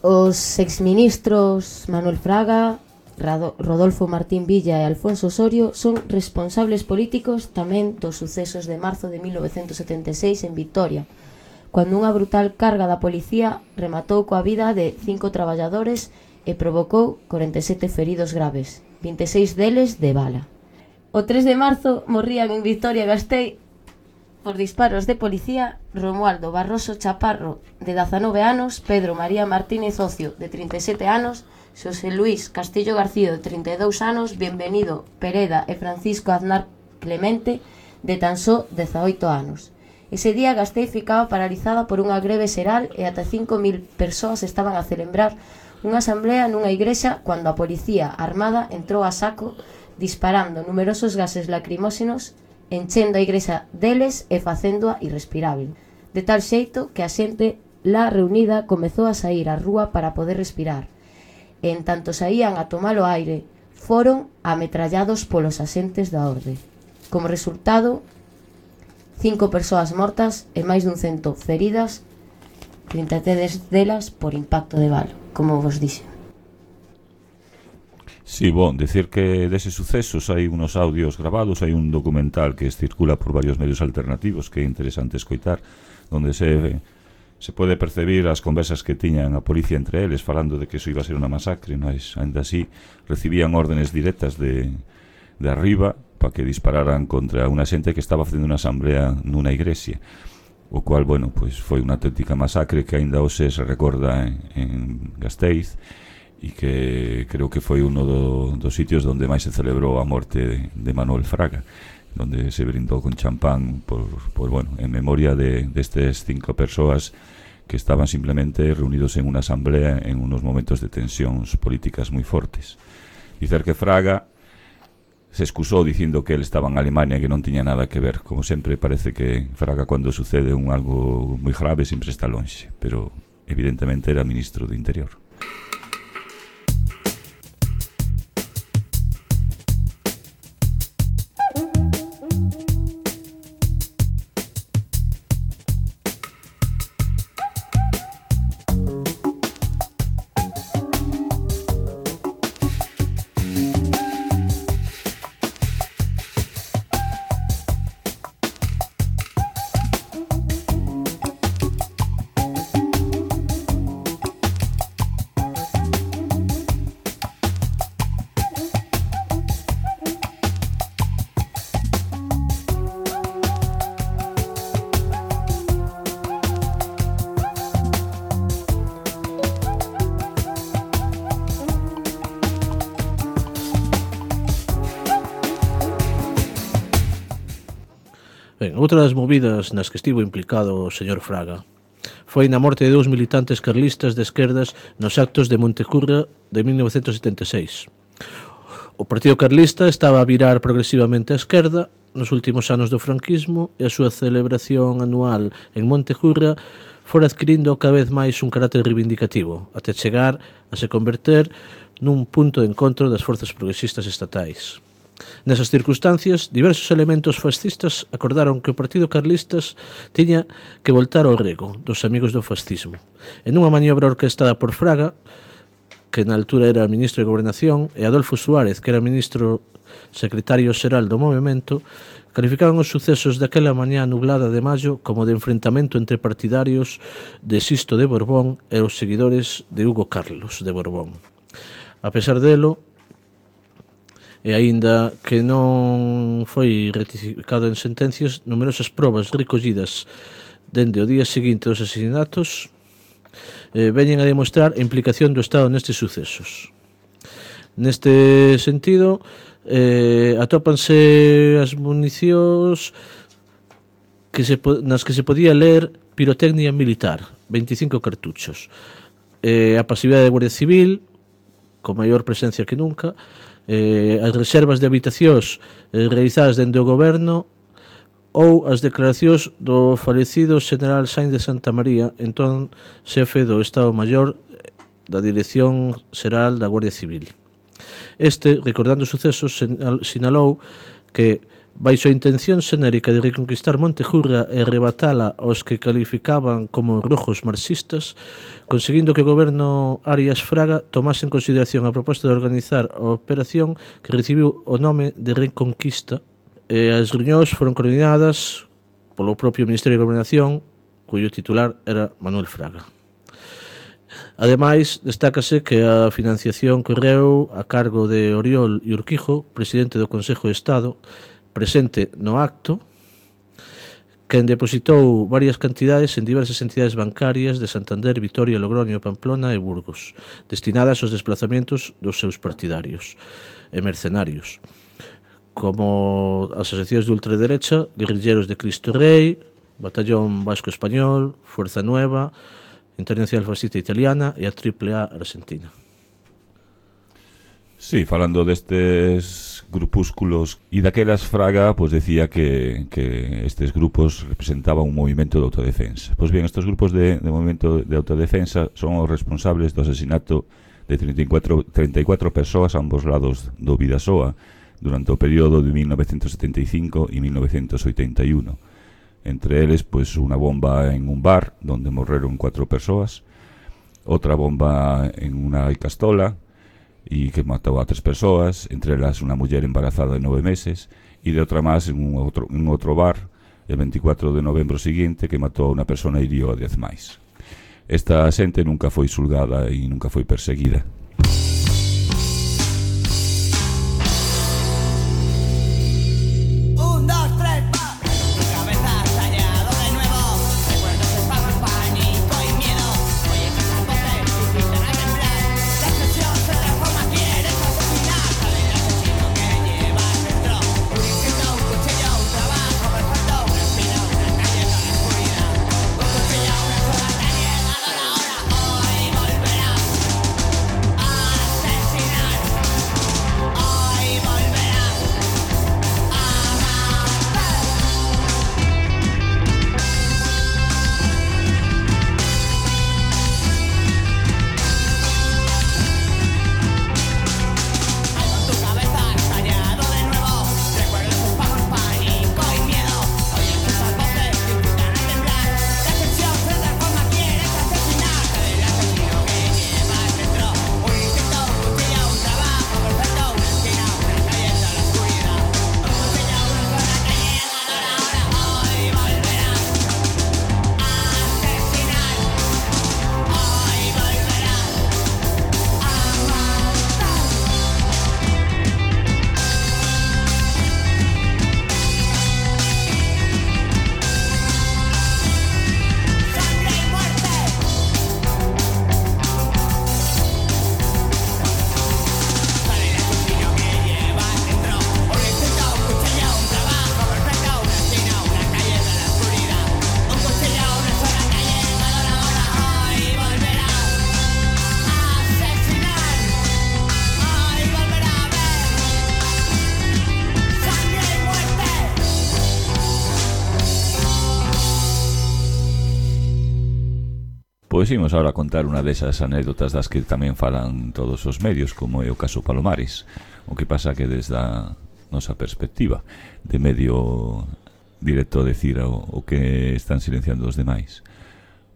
Os exministros Manuel Fraga, Rodolfo Martín Villa e Alfonso Osorio son responsables políticos tamén dos sucesos de marzo de 1976 en Vitoria, cando unha brutal carga da policía rematou coa vida de 5 traballadores e provocou 47 feridos graves, 26 deles de bala. O 3 de marzo morrían en Vitoria-Gasteiz por disparos de policía Romualdo Barroso Chaparro, de 19 anos, Pedro María Martínez Ocio, de 37 anos, Xosé Luis Castillo García, de 32 anos, Bienvenido Pereda e Francisco Aznar Clemente, de tan só 18 anos. Ese día Gasteiz ficaba paralizada por unha greve xeral e ata 5.000 persoas estaban a celebrar unha asamblea nunha igrexa cando a policía armada entrou a saco disparando numerosos gases lacrimóxenos, enchendo a igrexa deles e facéndoa irrespirável, de tal xeito que a xente lá reunida comezou a sair á rúa para poder respirar, e en tanto saían a tomar o aire, foron ametrallados polos axentes da orde. Como resultado, 5 persoas mortas e máis dun 100 feridas, 33 delas por impacto de bala, como vos dixen. Sí, decir que deses sucesos hai unos audios grabados, hai un documental que circula por varios medios alternativos que é interesante escoitar, onde se pode percibir as conversas que tiñan a policía entre eles falando de que iso iba a ser unha masacre, mas ainda así recibían órdenes directas de arriba para que dispararan contra unha xente que estaba facendo unha asamblea nunha igrexa, o cual, pois foi unha auténtica masacre que ainda hoxe se recorda en Gasteiz, e que creo que foi uno dos sitios onde máis se celebrou a morte de Manuel Fraga, onde se brindou con champán en memoria destes 5 persoas que estaban simplemente reunidos en unha asamblea en unos momentos de tensións políticas moi fortes. Dicer que Fraga se excusou dicindo que ele estaba en Alemania e que non tiña nada que ver. Como sempre, parece que Fraga, cando sucede algo moi grave, sempre está lonxe, pero evidentemente era ministro do Interior. Ben, outra das movidas nas que estivo implicado o señor Fraga foi na morte de 2 militantes carlistas de esquerdas nos actos de Montecurra de 1976. O Partido Carlista estaba a virar progresivamente á esquerda nos últimos anos do franquismo e a súa celebración anual en Montecurra fora adquirindo cada vez máis un carácter reivindicativo, até chegar a se converter nun punto de encontro das forzas progresistas estatais. Nesas circunstancias, diversos elementos fascistas acordaron que o Partido Carlistas tiña que voltar ao rego dos amigos do fascismo. En unha maniobra orquestada por Fraga, que na altura era ministro de Gobernación, e Adolfo Suárez, que era ministro secretario xeral do movimento, calificaban os sucesos daquela mañá nublada de maio como de enfrentamento entre partidarios de Sisto de Borbón e os seguidores de Hugo Carlos de Borbón. A pesar delo, e aínda que non foi ratificado en sentencias, numerosas probas recollidas dende o día seguinte dos asesinatos veñen a demostrar a implicación do Estado nestes sucesos. Neste sentido, atópanse as municións nas que se podía ler pirotecnia militar, 25 cartuchos. A pasividade da Guardia Civil, con maior presencia que nunca, as reservas de habitacións realizadas dende o goberno ou as declaracións do falecido General Sainz de Santa María, entón xefe do Estado Maior da Dirección Xeral da Guardia Civil. Este, recordando os sucesos, sinalou que baixo a intención xenérica de reconquistar Montejurra e arrebatala aos que calificaban como rojos marxistas, conseguindo que o goberno Arias Fraga tomase en consideración a proposta de organizar a operación que recibiu o nome de Reconquista, e as reunións foron coordinadas polo propio Ministerio de Gobernación, cuyo titular era Manuel Fraga. Ademais, destácase que a financiación correu a cargo de Oriol e Urquijo, presidente do Consejo de Estado, presente no acto, quen depositou varias cantidades en diversas entidades bancarias de Santander, Vitoria, Logroño, Pamplona e Burgos, destinadas aos desplazamentos dos seus partidarios e mercenarios, como as asociacións de ultraderecha, Guerrilleros de Cristo Rei, Batallón Vasco Español, Fuerza Nueva, Internacional Fascista Italiana e a AAA Argentina. Sí, falando destes grupúsculos e daquelas, Fraga pues decía que estes grupos representaban un movimento de autodefensa. Pois bien, estes grupos de movimento de autodefensa son os responsables do asesinato de 34 persoas a ambos lados do Bidasoa durante o período de 1975 e 1981. Entre eles, pues, unha bomba en un bar donde morreron 4 persoas, outra bomba en unha castola e que matou a 3 persoas, entre elas unha muller embarazada de 9 meses, e de outra máis en un outro bar el 24 de novembro seguinte que matou a unha persona e hiriu a 10 máis. Esta xente nunca foi xulgada e nunca foi perseguida. Pois imos agora contar unha desas anécdotas das que tamén falan todos os medios, como é o caso Palomares. O que pasa que desde a nosa perspectiva de medio directo a decir o que están silenciando os demais.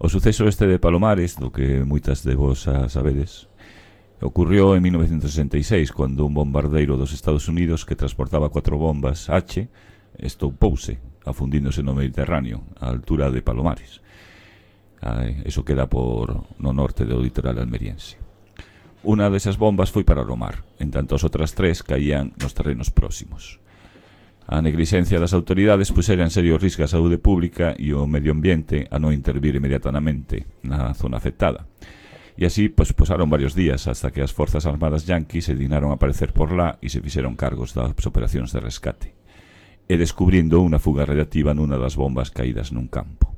O suceso este de Palomares, do que moitas de vos sabedes, ocurrió en 1966, cando un bombardeiro dos Estados Unidos que transportaba 4 bombas H estoupouse, afundíndose no Mediterráneo, á altura de Palomares. Eso queda no norte do litoral almeriense. Unha desas bombas foi para o mar, en tanto as outras 3 caían nos terrenos próximos. A negligencia das autoridades puxera en serio risco a saúde pública e o medio ambiente a non intervir inmediatamente na zona afectada. E así posaron varios días hasta que as forzas armadas yanquis se dignaron a aparecer por lá e se fixeron cargos das operacións de rescate, e descubrindo unha fuga radiactiva nunha das bombas caídas nun campo.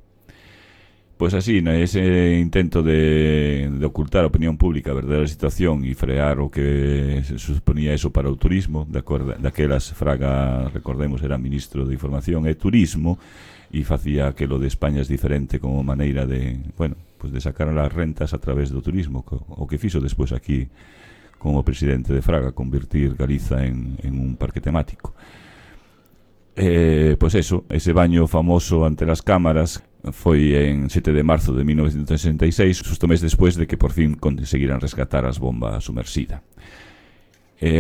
Pois así, nese intento de ocultar a opinión pública a verdadeira situación e frear o que suponía eso para o turismo, daquelas Fraga, recordemos, era ministro de Información e Turismo, e facía que lo de España es diferente como maneira de, bueno, pues de sacar as rentas a través do turismo, o que fixo despois aquí como presidente de Fraga, convertir Galiza en un parque temático. Pois eso, ese baño famoso ante as cámaras foi en 7 de marzo de 1966, justo mes despois de que por fin conseguiran rescatar as bombas sumersida.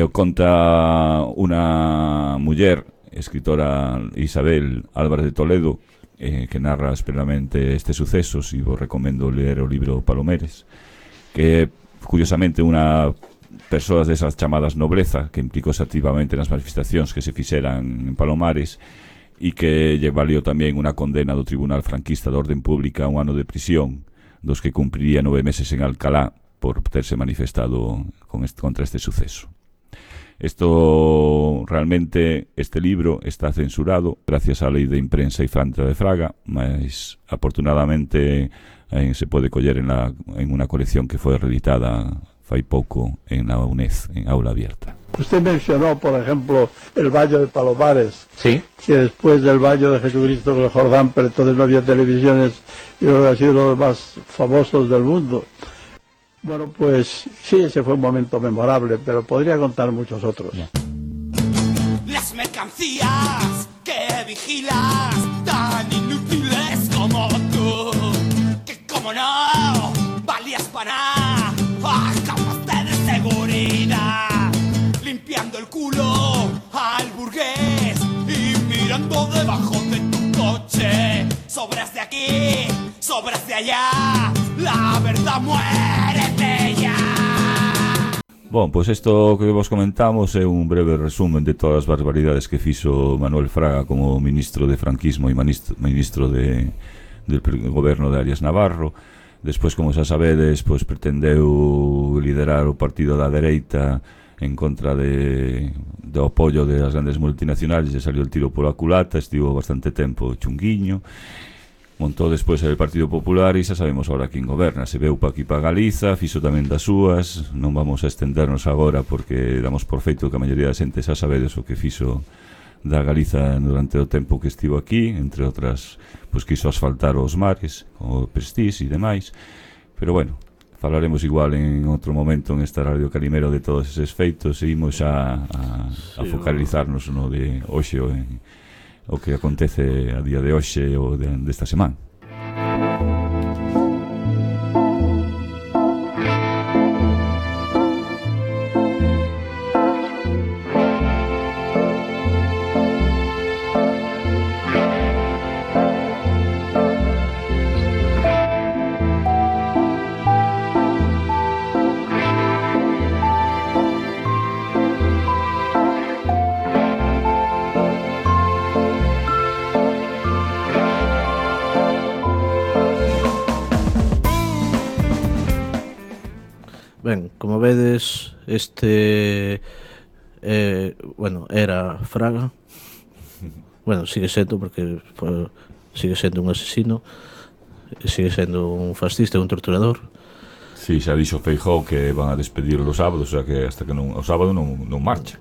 Conta unha muller, escritora Isabel Álvarez de Toledo, que narra esperadamente estes sucesos, e vos recomendo ler o libro Palomares, que curiosamente unha persoas desas chamadas nobleza que implicóse activamente nas manifestacións que se fixeran en Palomares, e que lle valió tamén unha condena do Tribunal Franquista de Orden Pública a 1 ano de prisión, dos que cumpriría 9 meses en Alcalá por terse manifestado contra este suceso. Realmente, este libro está censurado gracias á Lei de Imprensa e Franca de Fraga, mas afortunadamente se pode coller en unha colección que foi reeditada fai pouco en la UNED, en aula abierta. Usted mencionó, por ejemplo, el Valle de Palomares, ¿sí? Que después del Valle de Jesucristo en el Jordán, pero entonces no había televisiones, y creo que ha sido uno de los más famosos del mundo. Bueno, pues sí, ese fue un momento memorable, pero podría contar muchos otros. Las mercancías que vigilas, tan inútiles como tú, que como no valías para nada, acabaste de seguridad, limpiando el culo al burgués y mirando debajo de tu coche. Sobras de aquí, sobras de allá, la verdad muérete ya. Bon, pois isto que vos comentamos é un breve resumen de todas as barbaridades que fixo Manuel Fraga como ministro de franquismo e ministro del goberno de Arias Navarro. Despois, como xa sabedes, pois pretendeu liderar o partido da dereita en contra do apoio das grandes multinacionales, e saliu el tiro pola culata, estivo bastante tempo chunguiño. Montou despois el Partido Popular e xa sabemos agora quen goberna. Se veu pa aquí pa Galiza, fixo tamén das súas. Non vamos a estendernos agora porque damos por feito que a maioría da xente xa sabedes o que fixo da Galiza durante o tempo que estivo aquí, entre outras, pois quiso asfaltar os mares, o Prestige e demais. Pero bueno, falaremos igual en outro momento en esta Radio Calimero de todos eses feitos, e imos a focalizarnos no de hoxe o que acontece a día de hoxe ou desta semana. Ben, como vedes, bueno, era Fraga. Bueno, sigue sendo, porque sigue sendo un asesino, sigue sendo un fascista, un torturador. Sí, xa dixo Feijóo que van a despedir los sábados, o sea que hasta que o sábado non marcha.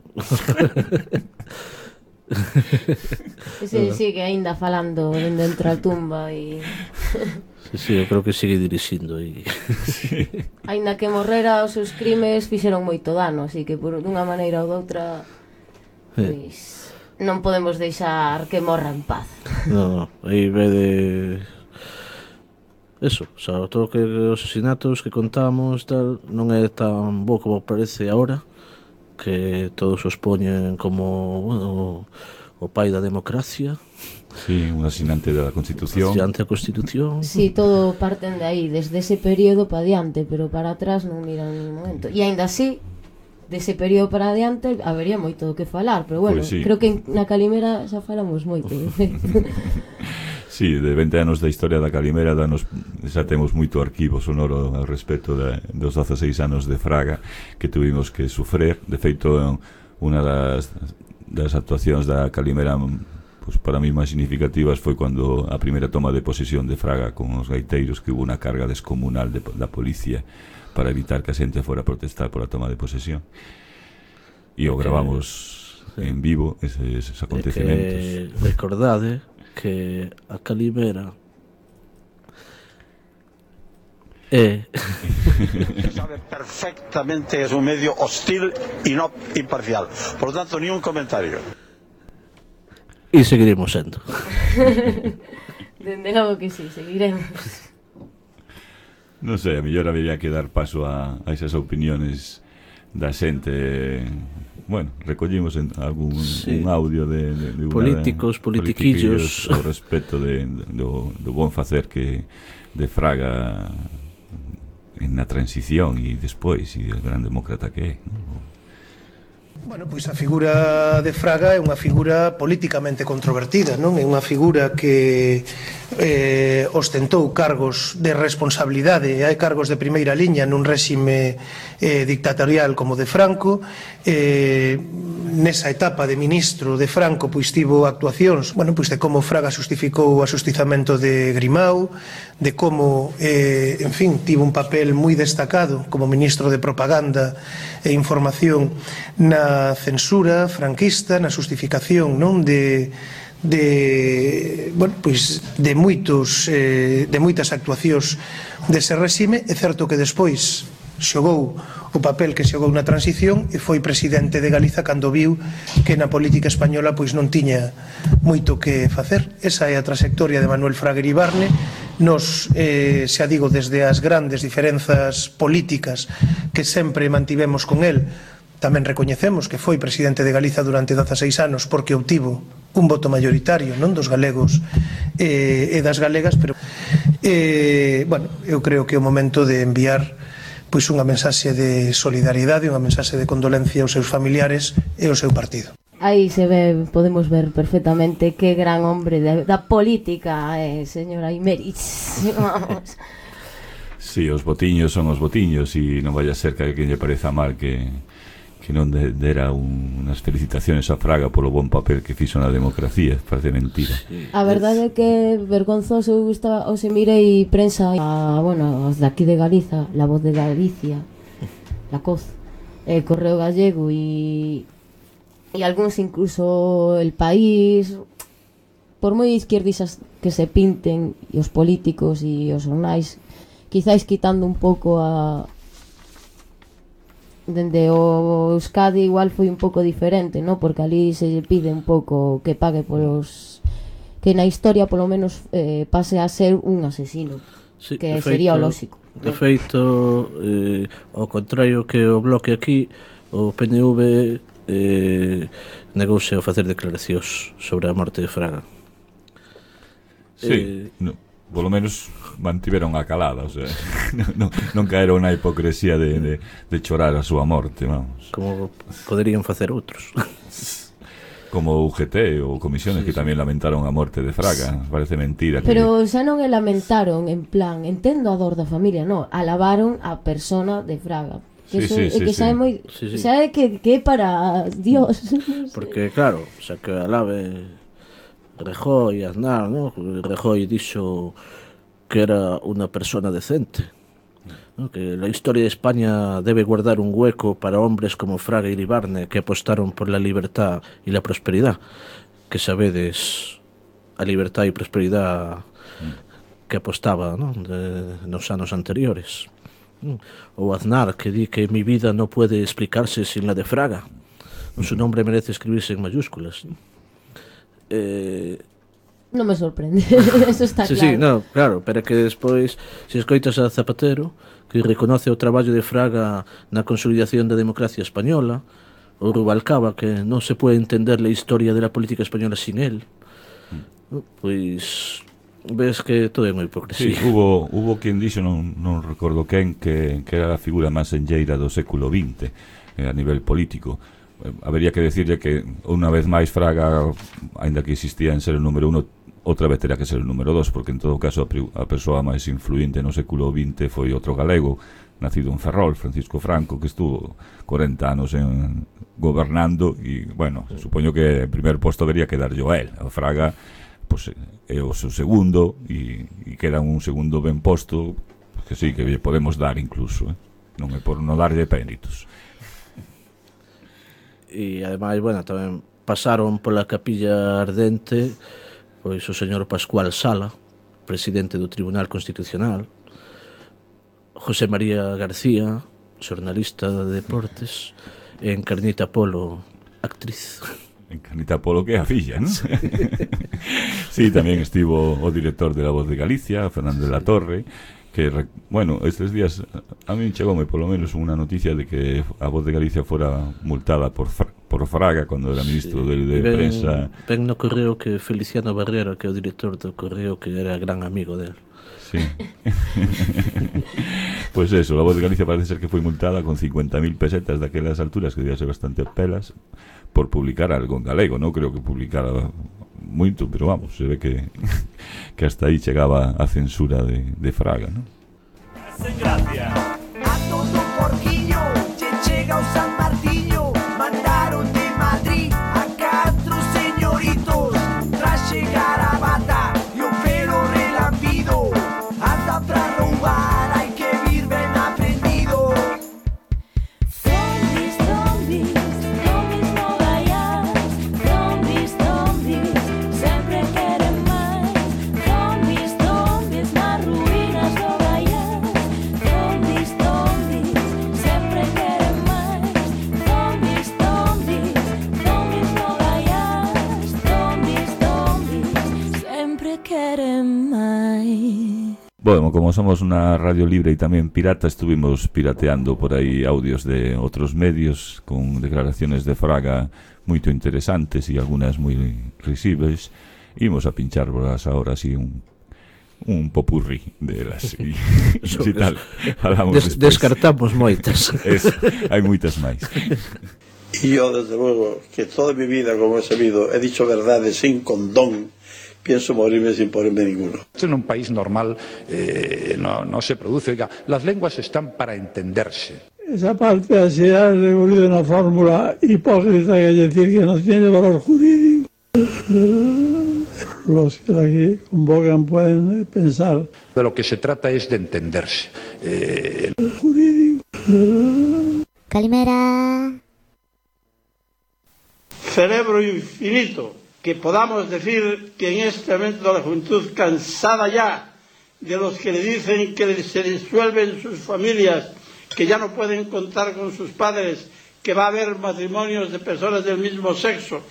Sigue aínda falando dentro da tumba e... Sí, eu creo que sigue dirixindo e... Aínda que morrera, os seus crimes fixeron moito dano, así que por dunha maneira ou doutra pois non podemos deixar que morra en paz. No, aí ve de... Eso, o sea, todo que os asesinatos que contamos tal, non é tan bo como parece agora, que todos os poñen como, bueno, o pai da democracia. Sí, un asinante da Constitución. Asinante da Constitución. Sí, todo parten de aí, desde ese período para adiante, pero para atrás non miran en momento. E aínda así, dese período para adiante habería moito do que falar, pero bueno, pues sí. Creo que na Calimera xa falamos moito. Sí, de 20 anos da historia da Calimera xa temos moito arquivo sonoro ao respecto dos 16 anos de Fraga que tuvimos que sufrir. De feito, unha das actuacións da Calimera, pues, para mí máis significativas foi cando a primeira toma de posesión de Fraga con os gaiteiros, que hubo unha carga descomunal da policía para evitar que a xente fora a protestar pola toma de posesión, e o gravamos en vivo eses acontecementos. Recordade que a Calimera Se sabe perfectamente, es un medio hostil y no imparcial, por lo tanto ni un comentario. E seguiremos sendo. Dende logo que sí, seguiremos. Non sei, a mellor habería que dar paso a esas opiniones da xente. Bueno, recollimos algún un audio de políticos, politiquillos ao respecto do bon facer que de Fraga na transición e despois, e o gran demócrata que é, non? Bueno, pois a figura de Fraga é unha figura políticamente controvertida, non? É unha figura que ostentou cargos de responsabilidade, hai cargos de primeira liña nun réxime dictatorial como de Franco. Nesa etapa de ministro de Franco pois tivo actuacións, bueno, pois de como Fraga xustificou o axustizamento de Grimau, de como, en fin, tivo un papel moi destacado como ministro de propaganda e información na censura franquista, na xustificación, non, bueno, pois de moitas actuacións dese réxime. É certo que despois xogou o papel que xogou na transición e foi presidente de Galiza cando viu que na política española pois non tiña moito que facer. Esa é a trayectoria de Manuel Fraga Iribarne. Nos, xa digo, desde as grandes diferenzas políticas que sempre mantivemos con el, tamén recoñecemos que foi presidente de Galiza durante 16 anos porque obtivo un voto mayoritario, non, dos galegos e das galegas, pero bueno, eu creo que é o momento de enviar pois unha mensaxe de solidariedade, unha mensaxe de condolencia aos seus familiares e ao seu partido. Aí se ve, podemos ver perfectamente que gran hombre da política, señora Imerich. Vamos. Sí, os botiños son os botiños e non vai a ser que a alguén lle pareza mal que non dera unhas felicitaciones a Fraga polo bon papel que fixo na democracia. Parece mentira. A verdade é que vergonzoso. Eu se mirei prensa bueno, os de aquí de Galiza, La Voz de Galicia, La Coz, Correo Gallego e algúns incluso El País, por moi izquierdistas que se pinten, e os políticos e os xornais, quizáis quitando un pouco dende o Euskadi igual foi un pouco diferente, ¿no? Porque ali se pide un pouco que pague polos, que na historia polo menos pase a ser un asesino, sí, que sería o lóxico. De feito, ao contrario que o bloque aquí, o PNV negouse a facer declaracións sobre a morte de Fraga. Sí, polo menos mantiveron a calada, o sea, non caeron na hipocresía de chorar a súa morte, vamos. Como poderían facer outros. Como UGT ou comisiones que tamén lamentaron a morte de Fraga. Parece mentira. Pero xa non lamentaron en plan, entendo a dor da familia, non, alabaron a persona de Fraga. Que xa é moi, xa é que é para Dios. Porque claro, xa que alabe Rajoy e Aznar, ¿no? Rajoy dixo que era unha persona decente, ¿no? Que la historia de España debe guardar un hueco para hombres como Fraga y Iribarne, que apostaron por la libertad y la prosperidad, que sabedes a libertad e prosperidad que apostaba, ¿no? Nos anos anteriores. Ou Aznar, que di que mi vida no puede explicarse sin la de Fraga. Su nombre merece escribirse en mayúsculas. Non me sorprende, eso está sí, claro. Sí, no, claro, pero que despois, se escoitas a Zapatero, que reconoce o traballo de Fraga na consolidación da democracia española, ou Rubalcaba, que non se pode entender a historia de la política española sin él, pois ves que todo é moi hipocresía. Sí, hubo quen dixo, non recordo quen, que era a figura máis enlleira do século XX a nivel político. Habería que decirle que unha vez máis Fraga, aínda que existía en ser o número 1, outra vez terá que ser o número 2, porque en todo caso a persoa máis influinte no século XX foi outro galego, nacido en Ferrol, Francisco Franco, que estuvo 40 anos gobernando e, bueno, supoño que en primer posto debería quedar yo a él. A Fraga pues, é o seu segundo e queda un segundo ben posto que sí, que podemos dar incluso, non é por non darlle méritos. E ademais, bueno, tamén pasaron pola Capilla Ardente pois o señor Pascual Sala, presidente do Tribunal Constitucional, José María García, xornalista de deportes, e Encarnita Polo, actriz. Encarnita Polo, que é a filla, non? Sí, tamén estivo o director de La Voz de Galicia, Fernando de la Torre, que, bueno, estes días a mí chegoume polo menos unha noticia de que a Voz de Galicia fora multada por Fraga cando era ministro de prensa. Ben no correo que Feliciano Barrera, que é o director do correo, que era gran amigo del. Sí. Pues eso, La Voz de Galicia parece ser que foi multada con 50.000 pesetas daquelas alturas, que debía ser bastante pelas, por publicar algo en galego. Non creo que publicara moito, pero vamos, se ve que hasta aí chegaba a censura de Fraga, non? A todo porquiño che chega o San Martiño, mandaron de Madrid a 4 señoritos tras chegar a bata e o pelo relampido, anda pra roubar, hai que vir ben aprendido. Zombies, zombies, zombies no vayas. Zombies, zombies, sempre queren máis. Zombies, zombies, nas ruínas no vayas. Zombies, zombies, sempre queren máis. Zombies, zombies, zombies no vayas. Zombies, zombies, sempre queren máis. Bueno, como somos unha radio libre e tamén pirata, estuvimos pirateando por aí audios de outros medios con declaraciones de Fraga moito interesantes e algunhas moi risíveis. Imos a pincharlas ahora así un popurrí delas e tal. Descartamos moitas. Hai moitas máis. Y yo, desde luego, que toda mi vida, como he sabido, he dicho verdades sin condón, pienso morirme sin ponerme ninguno. En un país normal no se produce. Oiga, las lenguas están para entenderse. Esa parte así ha recorrido una fórmula hipócrita, que es decir, que no tiene valor jurídico. Los que aquí convocan pueden pensar. De lo que se trata es de entenderse. Jurídico. Calimera. Cerebro infinito. Que podamos decir que en este momento la juventud, cansada ya de los que le dicen que se disuelven sus familias, que ya no pueden contar con sus padres, que va a haber matrimonios de personas del mismo sexo,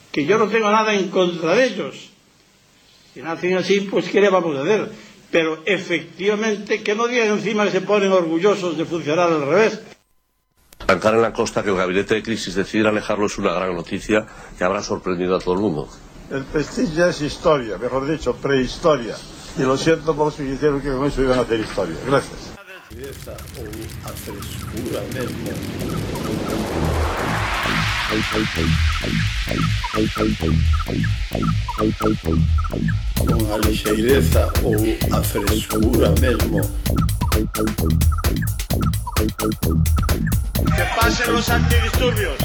que yo no tengo nada en contra de ellos. Si nacen así, pues ¿qué le vamos a hacer? Pero efectivamente que no digan encima que se ponen orgullosos de funcionar al revés. Arrancar en la costa que el gabinete de crisis decidiera alejarlo es una gran noticia que habrá sorprendido a todo el mundo. El Prestige ya es historia, mejor dicho, prehistoria. Y lo siento por los que dijeron que con eso iban a hacer historia. Gracias. Con a lixeireza ou a frescura mesmo. Que pasen los antidisturbios.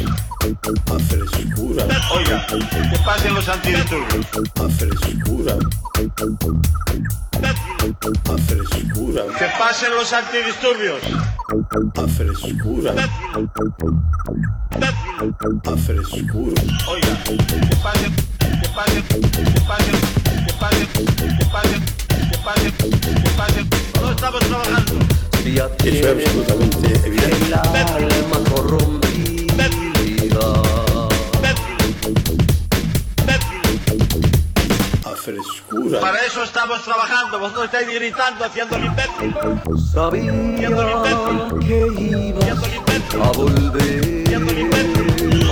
A frescura. Oiga, que pasen los antidisturbios. A frescura. A frescura. Que pasen los antidisturbios. A frescura. A frescura. Oiga, que pasen. No estamos trabajando. Eso es absolutamente evidente. El alma corrompida. A frescura. Para eso estamos trabajando. Vosotros estáis gritando, haciendo el imbécil. Sabía que ibas a volver.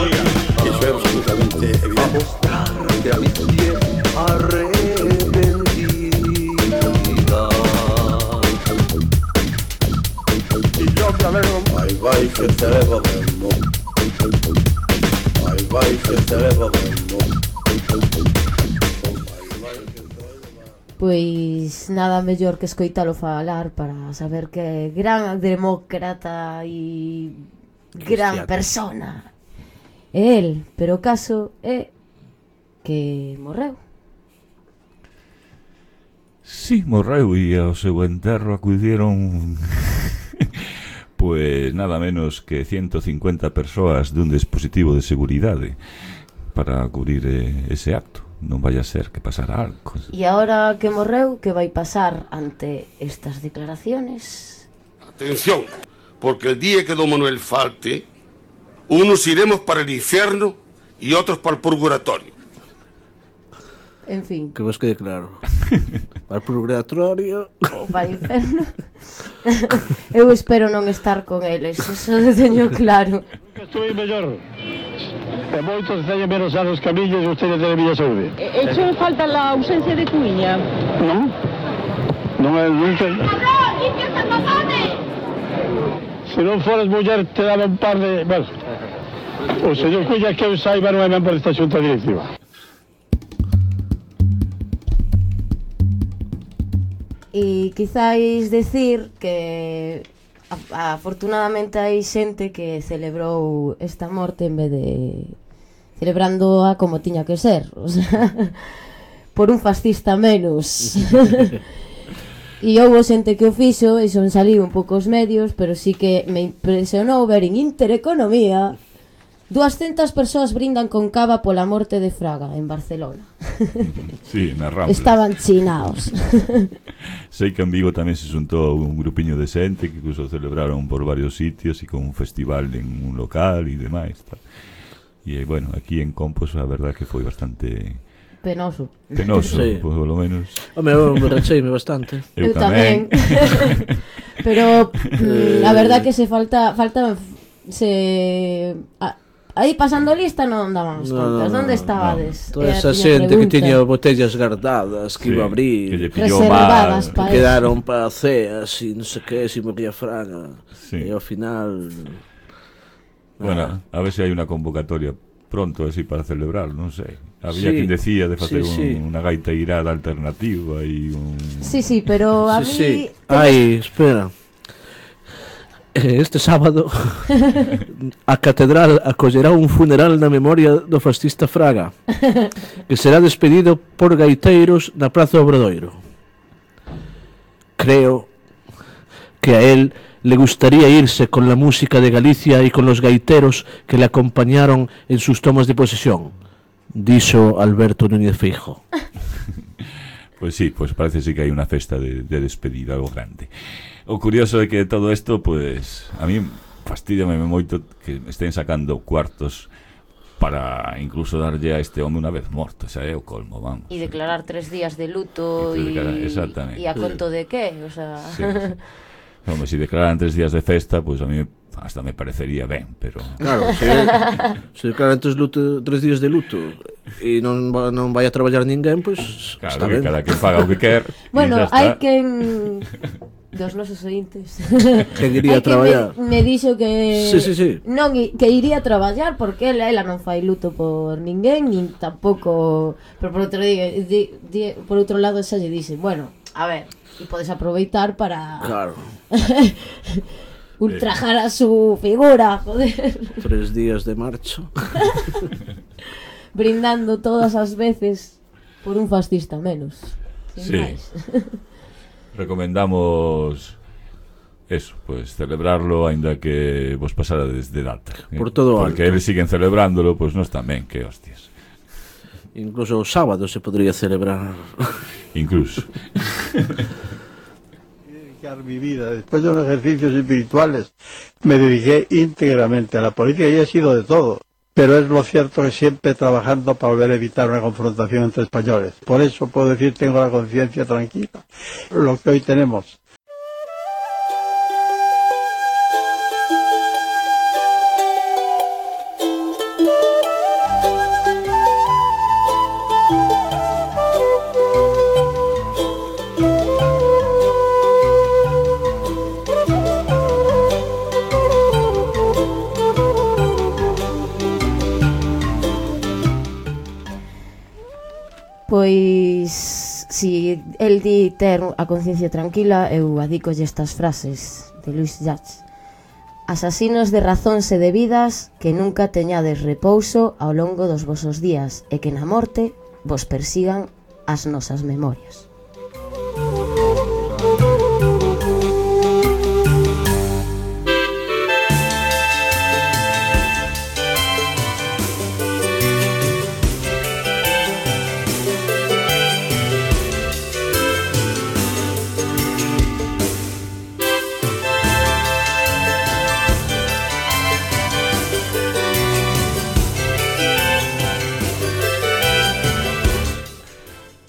Oiga, eso es absolutamente evidente. A mostrarte a mis pies arrepentida. Y yo me alegro. Ay, vai que te leva mesmo. Ay, vai que te leva mesmo. Pois nada mellor que escoitalo falar para saber que gran demócrata e gran persona é el, pero o caso é que morreu. Sí, morreu e ao seu enterro acudiron pues nada menos que 150 persoas dun dispositivo de seguridade para cubrir ese acto. Non vai a ser que pasara algo. E agora que morreu, que vai pasar ante estas declaraciones? Atención, porque el día que don Manuel falte, unos iremos para el infierno y otros para el purgatorio. En fin. Que vos quede claro. Para o purgatorio ou para o inferno. Eu espero non estar con eles, eso teño claro. Estuve mellor. E moitos teñen menos anos que a miña e ustedes teñen miña saúde. Echo en falta la ausencia de Cuiña. Non? Non é nunca. Se non foras muller te daba un par de... Bueno, o señor Cuiña que eu saiba non é membro desta xunta directiva. E quizáis decir que afortunadamente hai xente que celebrou esta morte en vez de celebrándoa como tiña que ser, o sea, por un fascista menos. E houve xente que o fixo e son saliu un pouco os medios, pero sí que me impresionou ver en Intereconomía 200 persoas brindan con cava pola morte de Fraga en Barcelona. Sí, na Rambla. Estaban chinaos. Sei que en Vigo tamén se xuntou un grupiño de xente que incluso celebraron por varios sitios e con un festival en un local e demais. E bueno, aquí en Compos a verdad que foi bastante penoso. Penoso, sí. Por lo menos. Home, eu me recheime bastante. Eu tamén. Pero a verdad que se falta aí pasando lista non dábamos contas. Onde estabades? Toda esa xente que tiña botellas guardadas que iba a abrir, reservadas que quedaron para ceas e non sei que, si moría Fraga. E ao final... Bueno, a ver se hai unha convocatoria pronto así para celebrar, non sei. Había quien decía de facer unha gaita irada alternativa e un... Sí, pero a mí... Ai, espera. Este sábado a catedral acollerá un funeral na memoria do fascista Fraga, que será despedido por gaiteiros na Praza Obradoiro. Creo que a él le gustaría irse con la música de Galicia y con los gaiteros que le acompañaron en sus tomas de posesión, dixo Alberto Núñez Feijóo. Pues sí, pues parece sí que hai unha festa de despedida, algo grande. O curioso é que todo isto, pues, a mí fastídiame moito que estén sacando cuartos para incluso darlle a este home unha vez morto, xa é o colmo, vamos. E declarar 3 días de luto e a conto de qué, o sea... Sí. Home, se declaran 3 días de festa, pues a mí hasta me parecería ben, pero... Claro, se declaran 3 días de luto e non vai a traballar ninguén, pues claro, que cada que faga o que quer. Bueno, hai quen... dos nosos ointes que iría a traballar. Me dixo que sí. Non, que iría a traballar porque ela non fai luto por ninguén, nin tampouco, pero por outro lado xa lle dixe, bueno, a ver, e podes aproveitar para claro. ultrajar a su figura, joder. 3 días de marcha. Brindando todas as veces por un fascista menos. Sin máis. recomendamos eso, pues celebrarlo aínda que vos pasara desde data. Por todo porque alto. eles siguen celebrándolo, pues nós tamén, que hostias. Incluso o sábado se podría celebrar. Incluso. Dedicar mi vida, después de los ejercicios espirituales, me dediqué íntegramente a la política y he sido de todo. Pero es lo cierto que siempre trabajando para volver a evitar una confrontación entre españoles. Por eso puedo decir, tengo la conciencia tranquila. Lo que hoy tenemos. Pois, si el di ter a conciencia tranquila, eu adícolle estas frases de Luis Llach. Asasinos de razóns e de vidas, que nunca teñades repouso ao longo dos vosos días, e que na morte vos persigan as nosas memorias.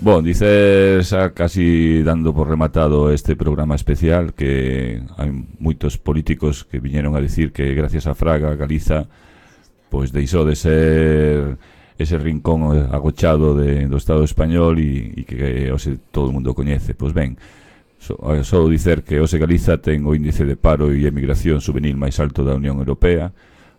Bon, dices casi dando por rematado este programa especial que hai moitos políticos que viñeron a decir que gracias a Fraga Galiza pois deixou de ser ese rincón agochado do Estado español e que hoxe todo o mundo coñece. Pois ben, só dicer que hoxe Galiza ten o índice de paro e emigración juvenil máis alto da Unión Europea,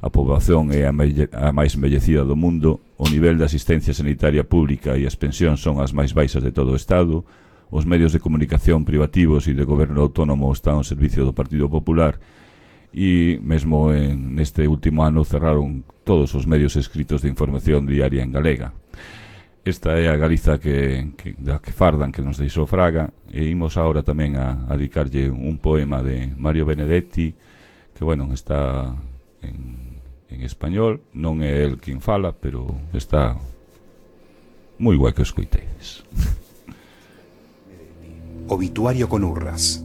a poboación é a máis envellecida do mundo, o nivel de asistencia sanitaria pública e as pensións son as máis baixas de todo o Estado, os medios de comunicación privativos e de goberno autónomo están ao servicio do Partido Popular e mesmo neste último ano cerraron todos os medios escritos de información diaria en galega. Esta é a Galiza que fardan que nos deixou Fraga e imos agora tamén a dedicarlle un poema de Mario Benedetti que, bueno, está en español, non é el quen fala, pero está moi guai que o escoitedes. Obituario con urras.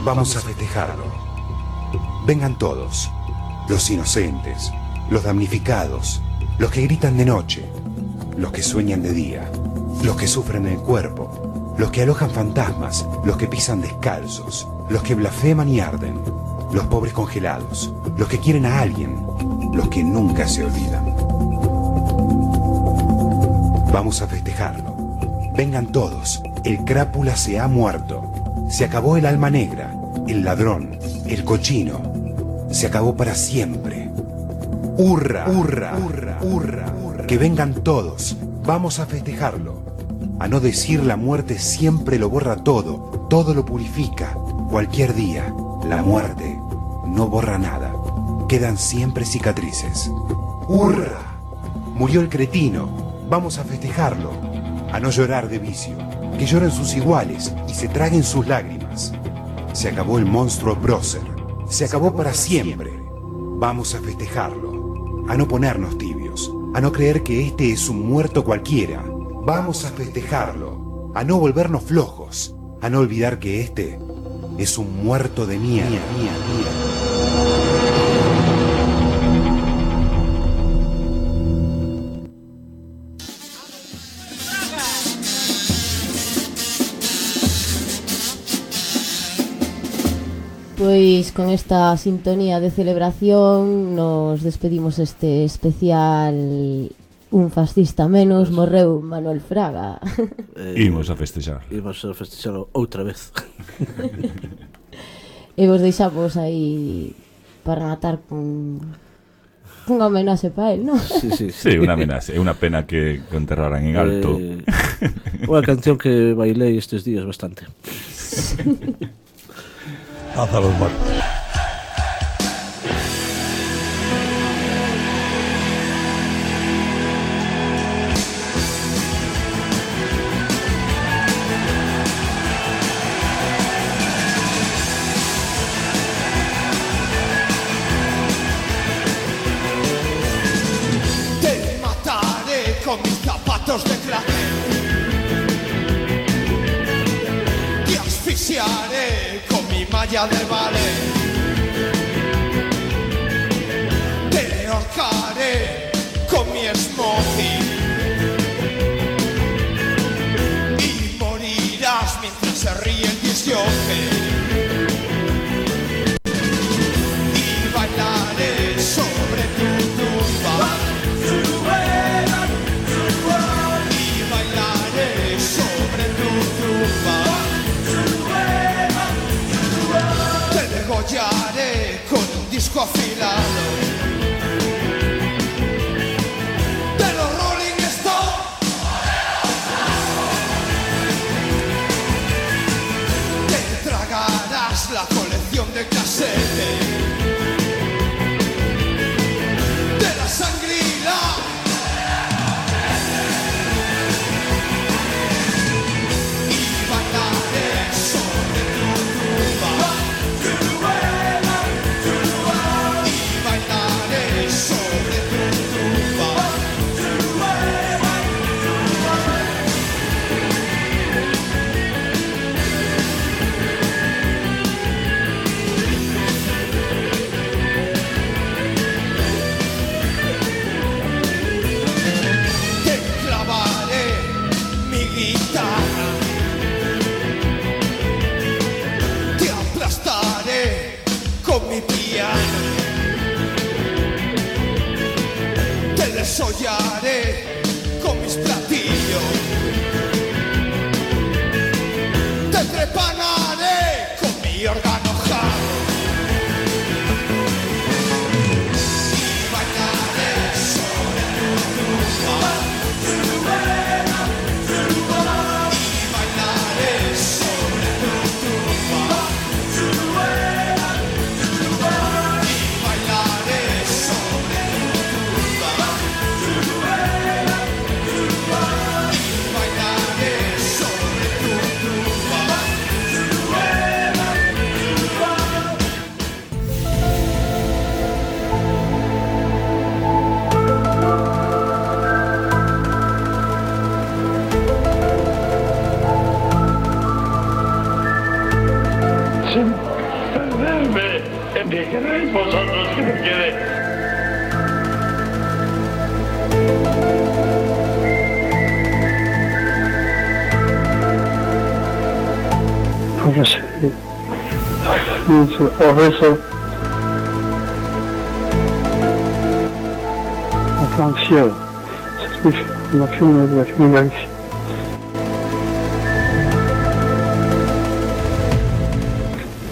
Vamos a festejarlo. Vengan todos, los inocentes, los damnificados, los que gritan de noche, los que sueñan de día, los que sufren el cuerpo, los que alojan fantasmas, los que pisan descalzos, los que blasfeman y arden, los pobres congelados, los que quieren a alguien, los que nunca se olvidan. Vamos a festejarlo. Vengan todos, el crápula se ha muerto. Se acabó el alma negra, el ladrón, el cochino. Se acabó para siempre. ¡Hurra! ¡Hurra! ¡Hurra! ¡Hurra! Que vengan todos. Vamos a festejarlo. A no decir la muerte siempre lo borra todo, todo lo purifica. Cualquier día, la muerte no borra nada. Quedan siempre cicatrices. ¡Hurra! Murió el cretino. Vamos a festejarlo. A no llorar de vicio. Que lloren sus iguales y se traguen sus lágrimas. Se acabó el monstruo prócer. Se acabó para siempre. Vamos a festejarlo. A no ponernos tibios. A no creer que este es un muerto cualquiera. Vamos a festejarlo. A no volvernos flojos. A no olvidar que este es un muerto de mierda. Pois con esta sintonía de celebración nos despedimos este especial Un fascista menos, morreu Manuel Fraga. Imos a festexar. Imos a festexar outra vez. E vos deixamos aí para matar con unha homenaxe para él, non? Sí, unha homenaxe. É unha pena que enterraran en alto. Unha canción que bailei estes días bastante. Haz a los muertos. los de clase. Te asfixiaré con mi malla de ballet. Te ahorcaré con mi smoking. Y morirás mientras se ríe el disjockey. Y bailaré sobre tu tumba. Y bailaré sobre tu tumba. Te degollaré con un disco afilado de los Rolling Stones. Te tragarás la colección de casetes de la Shangri-La. Y bailaré sobre tu tumba. Y bailaré sobre tu tumba. Te clavaré mi guitarra. Te aplastaré con mi piano. Te desollaré con mis platillos. Te trepanaré con mi órgano jarro. Y bailaré sobre tu tumba. Y bailaré sobre tu tumba. Y bailaré sobre tu tumba. Y bailaré sobre tu tumba. Sin perderme en mi queréis vosotros que me quede. Póngase o rezo en francés, ça signifie la film de la Galicia.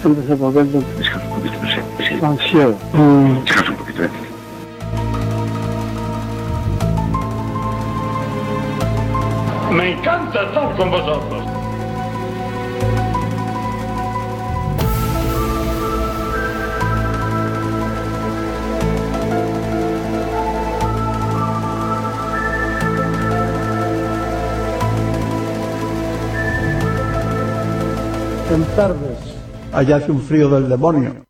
Antes de volverlo, Descansa un poquito, sí. francés. Descansa un poquito, Me encanta estar con vosotros. En tardes, allá hace un frío del demonio.